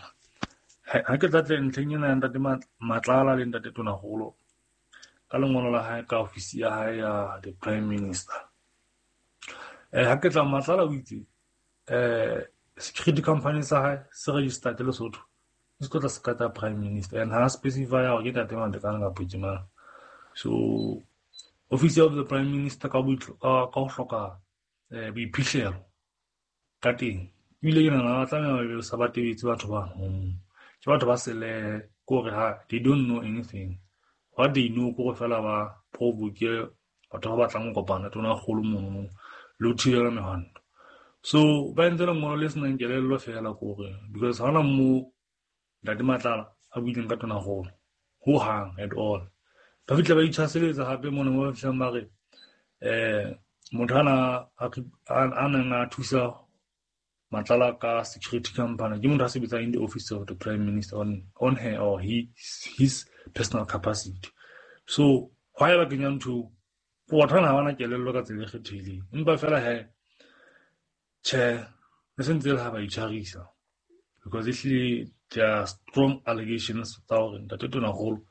Ha ke tla tle ntlheng ena ya ntate Matlala le ntate Tonakgolo ka lengolo la hae ka ofisi ya hae ya the Prime Minister. Ha ke tla Matlala o itse security company sa hae se registered Lesotho, se tlo tla se qeta Prime Minister and ha specify hore ke ntate Matekane kapa ke mang. So office of the Prime Minister ka ho hloka boiphihlelo ka teng ebile ke nahana ba tlameha ba sa ba tebetse batho ba ke batho ba sele kore ha they don't know anything. What they know kore fela ba provoke batho ba batlang ho kopana tona kgolo mono le ho thibela mehwanto. So ba entse lengolo le senang kelello fela kore because ha hona mo ntate Matlala a buileng ka tona kgolo ho hang at all. Ba fihla ba itshwaseletsa hape mona mo ba fihlang ba re Motho ana a neng a thusa Matlala ka security company ke motho a sebetsang in the office of the prime minister on her or his personal capacity. So why ba kenya ntho go batho bana ha bana kelello ka tsela e kgethehileng, empa fela he tjhe le sentse le ha ba itshwarisa because ehlile there are strong allegations tsa hore ntate Tonakgolo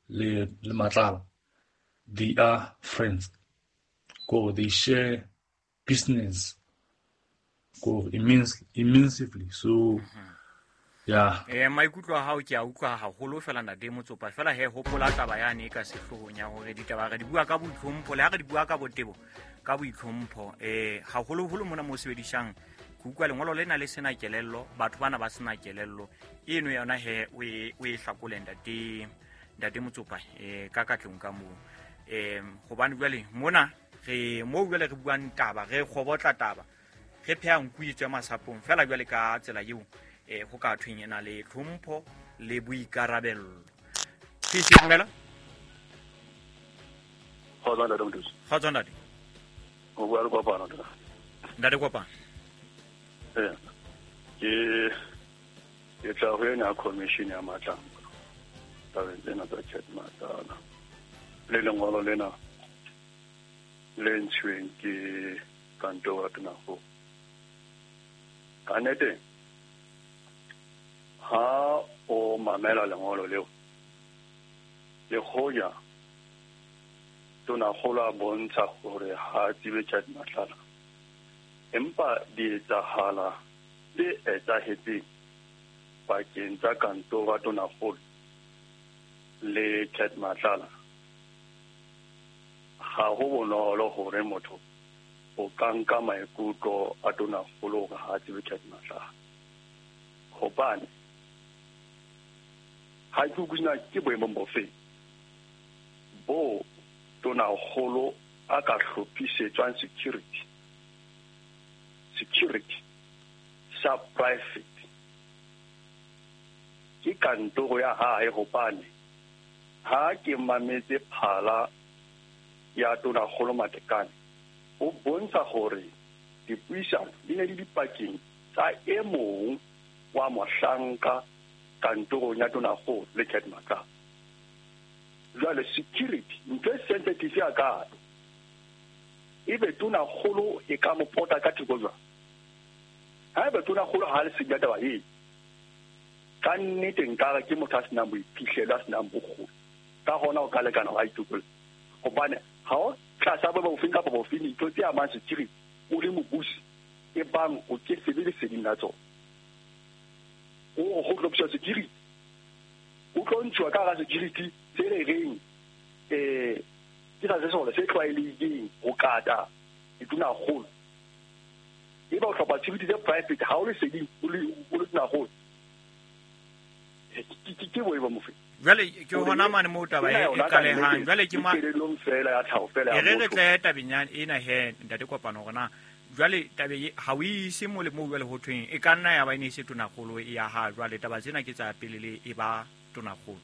le Matlala they are friends, ko they share business ko immensely. So yeah, maikutlo a hao ke a utlwa haholo fela ntate Motsopa. Fela he hopola taba yane ka sehloohong ya hore ditaba re di bua ka boitlhompho, le ha re di bua ka botebo ka boitlhompho. Haholoholo mona mo sebedisang ke utlwa lengolo lena le sena kelello, batho bana ba sena kelello eno yona he o e hlakole ntate Motsopa ka katlong ka moo. Hobane jwale mona re mo jwale re buang taba, re kgobotla taba, re pheha nku e tswe masapong fela jwale ka tsela eo ho ka thweng ena le tlhompho le boikarabello. Sisi dumela. Kgotsa ntate Mothusi. Kgotsa ntate. O bua le Kopano ntate. Ntate Kopano. Ke tla ho ena commission ya Matlala. Tabeng tsena tsa Cat Matlala. Le lengolo lena le ntshweng ke kantoro ya Tonakgolo. Ka nnete ha o mamela lengolo leo, le hoja Tonakgolo a bontsha hore ha tsebe Cat Matlala, empa di etsahala tse etsahetseng pakeng tsa kantoro ya Tonakgolo le Cat Matlala ha ho bonolo hore motho o ka nka maikutlo a Tonakgolo hore ha tsebe Cat Matlala. Hobane ha ke utlwisisa ke boemong bofe bo Tonakgolo a ka hlophisetswang security sa private ke kantoro ya hae. Hobane ha ke mametse phala ya Tonakgolo Matekane, o bontsha hore dipuisano di ne di dipakeng tsa e mong wa mohlanka kantorong ya Tonakgolo le Cat Matlala. Jwale security ntho e sensitive ya kalo, ebe Tonakgolo e ka mo pota ka theko jwang? Haeba Tonakgolo ha le senya taba e, ka nnete nkare ke motho a senang boiphihlelo, a senang bokgoni, ka hona o ka lekana wa itokolla. Hobane ha o tlasa bo bofeng kapa bofeng dintho tse amang security o le mobusi, e bang o ke sebe leseding la tsona. O go hlophiswa security, o tlo ntshuwa ka hara security se re reng ke sa sesole se tlwaelehileng ho kata ditonakgolo. Eba o hlopha security tse private ha o leseding o le tonakgolo, ke boemo mofe? Jwale ke hona mane moo taba e qalehang. Jwale ke ma kelellong fela ya tlhaho fela ya re re tle tabeng ya ena he ntate Kopano hore na jwale tabe ha o ise mo le moo jwale ho thweng e ka nna ya ba e ne se Tonakgolo ya ha jwale taba tsena ke tsa pele le e ba Tonakgolo.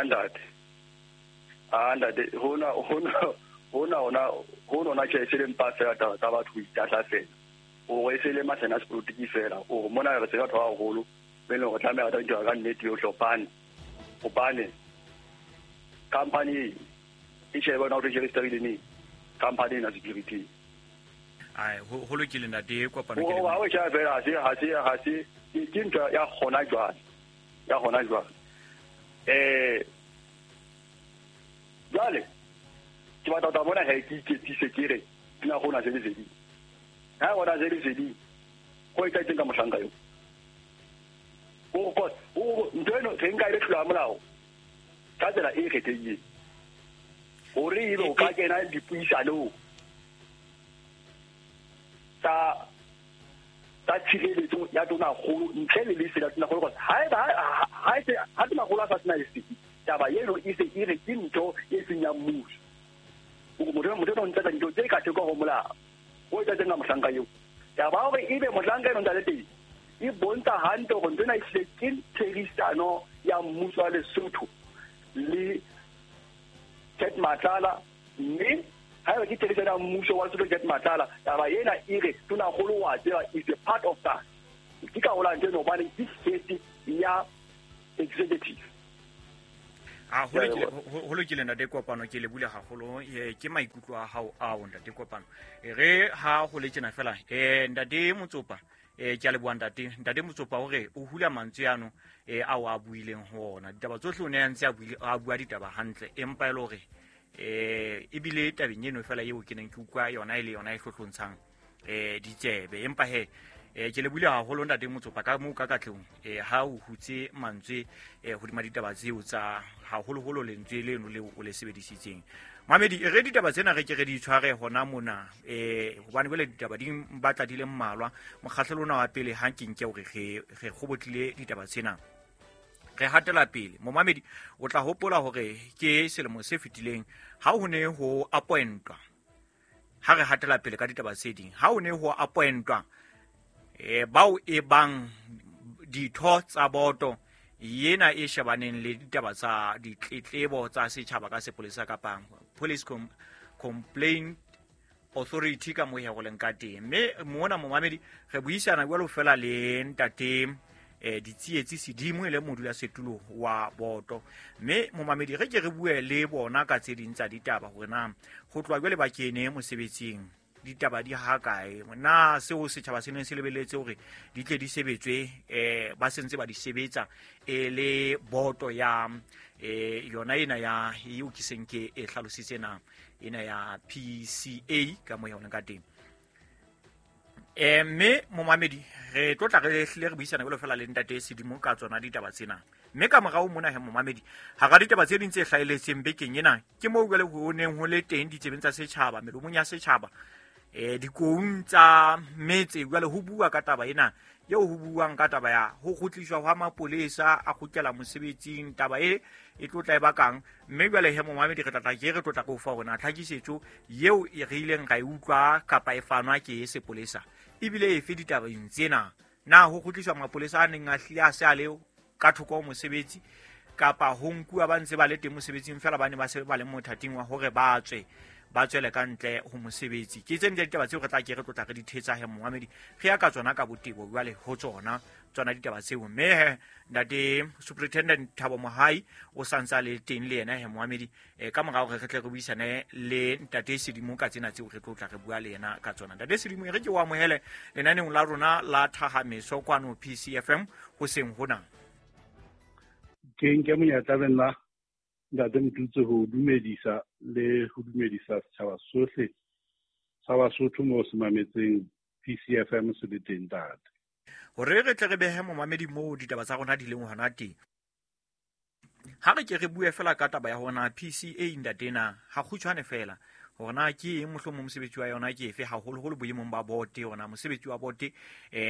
Ntate hona tjhe se le mpa fela taba tsa batho ho itahla fela, o re se le masena sepolotiki fela, o mona re se batho ba haholo be leng hore tlameha ba tla ka nnete yohle. Hobane company e shebe bona hore registerile neng company ena security. Ai ho lokile ntate Kopano ke le ha o tjha fela ha se ke ntho ya hona jwale jwale ke batla ho bona he ke iketsise ke re nna gona se leseding. Ha gona se leseding go etsahetseng ka mohlanka eo? O ntho eno re nka e le tlolo ya molao ka tsela e kgethehileng hore ebe o ka kena dipuisanong tsa tshireletso ya Tonakgolo ntle le lesedi la Tonakgolo. Ha Tonakgolo a sa sena lesedi, taba eno e se e re ke ntho e seng ya mmuso. Motho o ntse dintho tse ka theko ho molao, o etsahetseng ka mohlanka eo. Taba hore ebe mohlanka eno ntse a le teng e bontsha hantle hore ntho ena ehlile ke therisano ya mmuso wa Lesotho le Cat Matlala, mme haeba ke therisano ya mmuso wa Lesotho Cat Matlala, taba ena e re tonakgolo wa tseba is a part of that. Ke ka hola ntho eno hobane ke head ya executive. A ho lokile ntate Kopano, ke lebule haholo. Ke maikutlo a hao ao ntate Kopano. Re ha ho le tjena fela, ntate Motsopa, ke a leboha ntate. Ntate Motsopa o re o hula mantswe ano ao a buileng ho ona. Ditaba tsohle o ne a ntse a bua ditaba hantle, empa e le hore ebile tabeng eno fela eo ke neng ke utlwa yona e le yona e hlohlontshang ditsebe. Empa he ke lebule haholo ntate Motsopa ka moo ka katlehong ha o hutse mantswe hodima ditaba tseo tsa haholoholo lentswe leno leo o le sebedisitseng. Mamedi, re ditaba tsena re ke re di tshware hona mona, hobane jwale ditaba di batla di le mmalwa. Mokgahlelo ona wa pele ha ke nke hore re kgobotlile ditaba tsena, re hatela pele. Momamedi, o tla hopola hore ke selemo se fetileng ha ho ne ho appointwa, ha re hatela pele ka ditaba tse ding, ha ho ne ho appointwa bao e bang ditho tsa boto yena e shebaneng le ditaba tsa ditletlebo tsa setjhaba ka sepolesa kapa Police Complaint Authority ka moo ho leng ka teng. Mme mona momamedi re buisana jwalo fela le ntate Ditsietsi Sedimo e le modulasetulo wa boto. Mme momamedi re ke re bue le bona ka tse ding tsa ditaba hore na ho tloha jwale ba kene mosebetsing ditaba di ha kae, na seo setjhaba se neng se lebeletse hore di tle di sebetswe ba sentse ba di sebetsa e le boto ya yona ena ya eo ke seng ke e hlalositse na ena ya PCA ka moo yona ka teng. Mme momamedi re tlo tla re hlile re buisana jwalo fela le ntate Sedimo ka tsona ditaba tsena. Mme ka morao mona he momamedi, hara ditaba tse ding tse hlahelletseng bekeng ena ke moo jwale ho neng ho le teng ditsebeng tsa setjhaba, melomong ya setjhaba, dikoung tsa metse jwale ho bua ka taba ena eo ho buang ka taba ya ho kgutliswa hwa mapolesa a kgutlela mosebetsing, taba e e tlo tla e bakang. Mme jwale he momamedi re tla ke re tlo tla go fa hore na tlhakisetso eo e re ileng ra e utlwa kapa e fanwa ke sepolesa ebile efe ditabeng tsena. Na ho kgutliswa mapolesa a neng a hlile a se a le ka thoko ho mosebetsi kapa ho nkuwa ba ntse ba le teng mosebetsing fela ba ne ba se ba le mothating wa hore ba tswe ba tswele ka ntle ho mosebetsi. Ke tse ding tsa ditaba tseo re tla ke re tlotla re di thetsa he momamedi, re ya ka tsona ka botebo jwale ho tsona ditaba tseo. Mme he ntate Superintendent Thabo Mohai o santse a le teng le yena he momamedi, ka mora hore re tle re buisane le ntate Sedimo ka tsena tseo re tlotla re bua le yena ka tsona. Ntate Sedimo, re ke o amohele lenaneong la rona la Thahameso kwano PCFM hoseng hona. Ke nke monyetla le nna ntate Motutse ho dumedisa le ho dumedisa setjhaba sohle sa Basotho moo se mametseng PCFM se le teng ntate. Hore re tle re behe momamedi moo ditaba tsa rona di leng hona teng, ha re ke re bue fela ka taba ya hore na PCA ntate na ha kgutshwane fela hore na ke eng mohlomong mosebetsi wa yona ke efe, haholoholo boemong ba bote, hore na mosebetsi wa bote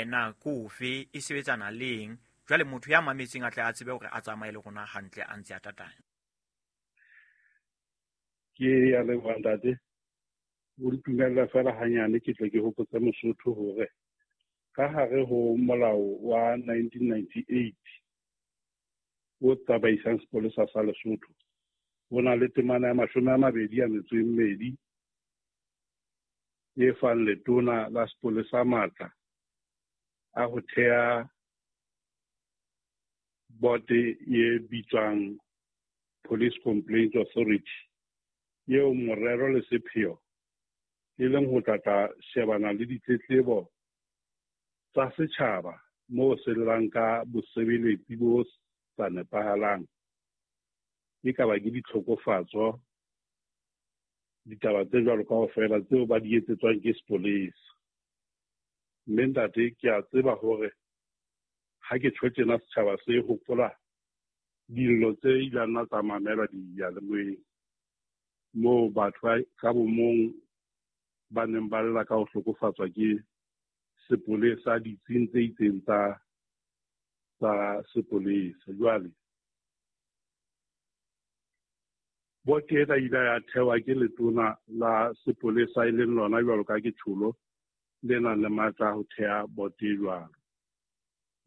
na ke ofe, e sebetsana le eng. Jwale motho ya mametseng a tle a tsebe hore a tsamaye le rona hantle a ntse a tataya. Ke ya leboha ntate, o ntumella fela hanyane ke tle ke hopotse Mosotho hore ka hare ho molao wa 1998 o tsamaisang sepolesa sa Lesotho ho na le temana ya 22 e fang letona la sepolesa matla a ho thea bote e bitswang Police Complaint Authority eo morero le sepheo e leng ho tla shebana le ditletlebo tsa setjhaba moo se llang ka bosebeletsi bo sa nepahalang, e ka ba ke ditlhokofatso, ditaba tse jwalo kaofela tseo ba di etsetswang ke sepolesa. Mme ntate ke a tseba hore ha ke tjho tjena setjhaba se hopola dillo tse ilang nna tsa mamelwa diyalemoyeng moo batho ka bomong ba neng ba lla ka ho hlokofatswa ke sepolesa ditsing tse itseng tsa sepolesa. Jwale bote ena ile ya thewa ke letona la sepolesa e leng lona jwalo ka ke tjholo le nang le matla a ho thea bote jwalo.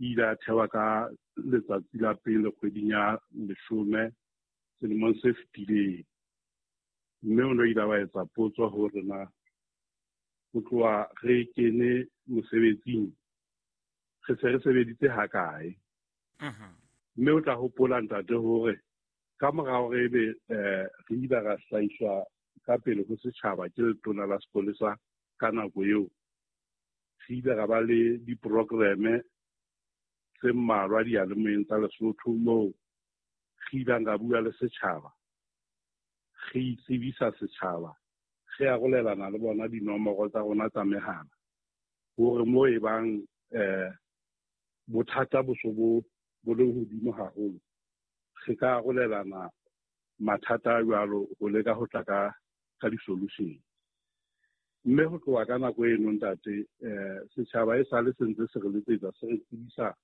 E ile ya thewa ka letsatsi la pele kgweding ya 10 selemong se fetileng. Mme o no ile wa etsa potso hore na ho tloha re kene mosebetsing re se re sebeditse hakae. Mme o tla hopola ntate hore ka mora hore ebe re ile ra hlahiswa ka pele ho setjhaba ke letona la sepolesa ka nako eo, re ile ra ba le diprogramme tse mmalwa diyalemoyeng tsa Lesotho moo re ileng ra bua le setjhaba, re itsebisa setjhaba, re arolelana le bona dinomoro tsa rona tsa mehala hore moo e bang bothata bo so bo le hodimo haholo, re ka arolelana mathata a jwalo ho leka ho tla ka di-solution. Mme ho tloha ka nako eno ntate, setjhaba e sale se ntse se re letsetsa, se re tsebisa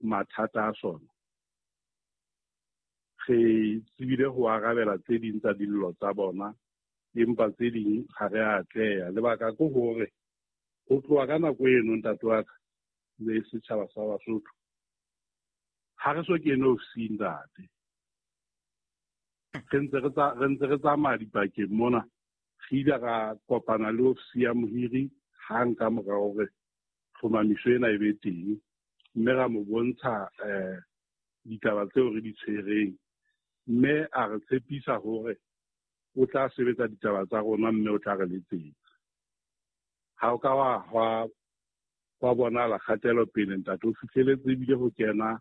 mathata a sona. Re tsebile ho arabela tse ding tsa dillo tsa bona, empa tse ding ha re a atleha. Lebaka ke hore ho tloha ka nako eno ntate wa ka le setjhaba sa Basotho, ha re so kene ofising ntate. Re ntse re tsamaya dipakeng mona, re ile ra kopana le ofisi ya mohiri hang ka mora hore tlhomamiso ena e be teng, mme ra mo bontsha ditaba tseo re di tshwereng, mme a re tshepisa hore o tla sebetsa ditaba tsa rona mme o tla re letsetsa. Ha o ka wa bonahala kgatelopele ntate, o fihleletse ebile ho kena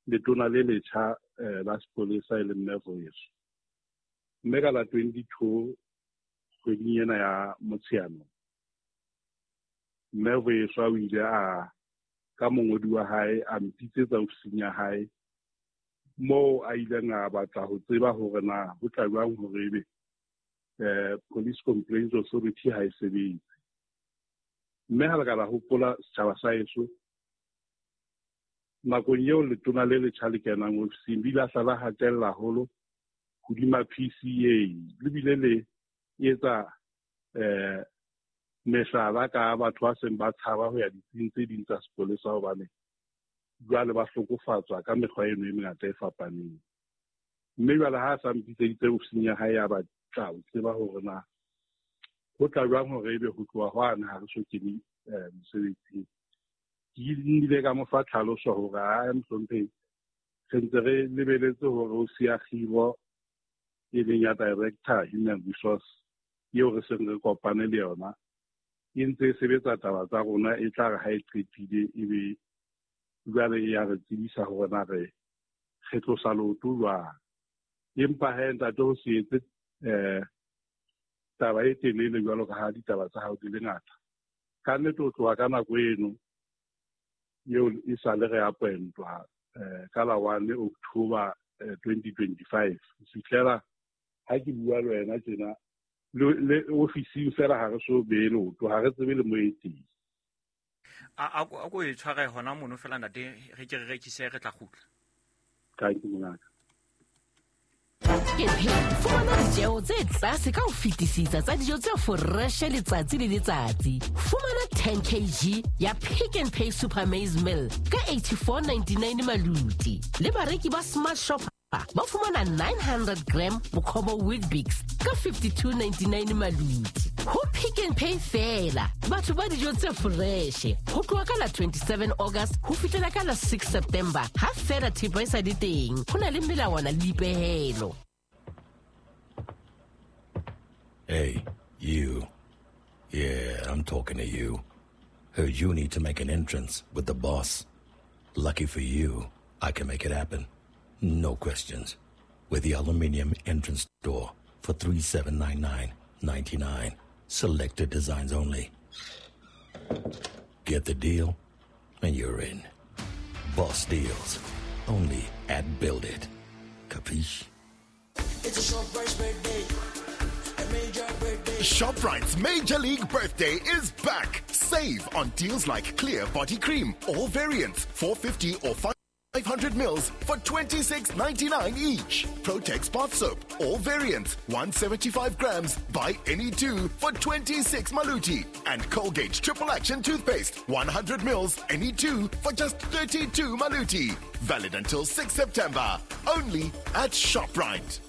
letona le letjha la sepolesa e leng Mme Voeso. Mme ka la 22 kgweding ena ya Motsheanong, Mme Voeso o ile a ka mongodi wa hae a mpitsetsa ofising ya hae moo a ileng a batla ho tseba hore na ho tla jwang hore ebe Police Complaints Authority ha e sebetse. Mme ha le ka la hopola setjhaba sa heso, nakong eo letona le letjha le kenang ofising le ile la hla la hatella haholo hodima PCA, le bile le etsa mehlala ka batho ba seng ba tshaba ho ya ditsing tse ding tsa sepolesa hobane jwale ba hlokofatswa ka mekgwa eno e mengata e fapaneng. Mme jwale ha a sa mpitseditse ofising ya hae ya batla ho tseba hore na ho tla jwang hore ebe ho tloha hwane ha re so kene mosebetsing. Ke nnile ka mo fa tlhaloso hore a mohlomphehi, re ntse re lebeletse hore o siya kgiro e leng ya director human resource eo re seng re kopane le yona, e ntse e sebetsa taba tsa rona, e tla re ha e qetile ebe jwale e ya re tsebisa hore na re tlosa leoto jwang. Empa he ntate, ho se etse taba e telele jwalo ka ha ditaba tsa hao di le ngata. Ka nnete ho tloha ka nako eno eo e sale re appointwa ka la 1 October 2025 ho fihlela ha ke bua le wena tjena, le ofising fela ha re so behe leoto, ha re tsebe le mo e teng. A ko e tshware hona mono fela ntate, re ke re rekise, re tla kgutla. Thank you, mongaka. Fumana ditjeo tse tlase ka ho fetisisa tsa dijo tse foreshe letsatsi le letsatsi. Fumana 10 kg ya Pick n Pay Super Maize Meal ka 84.99 maluti. Le bareki ba Smart Shop ba fumana 900 gram Bokhobo Weet-Bix ka 52.99 maluti. Ho Pick n Pay fela, batho ba dijo tse foreshe. Ho tloha ka la 27 August ho fihlela ka la 6 September, ha fela thepa e sa le teng. Ho na le melawana le dipehelo. Hey, you. Yeah, I'm talking to you. Heard you need to make an entrance with the boss. Lucky for you, I can make it happen. No questions. With the aluminium entrance door for $3,799.99. Selected designs only. Get the deal, and you're in. Boss deals. Only at Build It. Capiche? It's a ShopRite's birthday. A major birthday. ShopRite's Major League Birthday is back. Save on deals like Clear Body Cream, all variants, 450 or 500 mils for $26.99 each. Protex bath soap, all variants, 175 grams, buy any two for 26 maluti. And Colgate Triple Action Toothpaste, 100 mils, any two for just 32 maluti. Valid until 6 September. Only at ShopRite.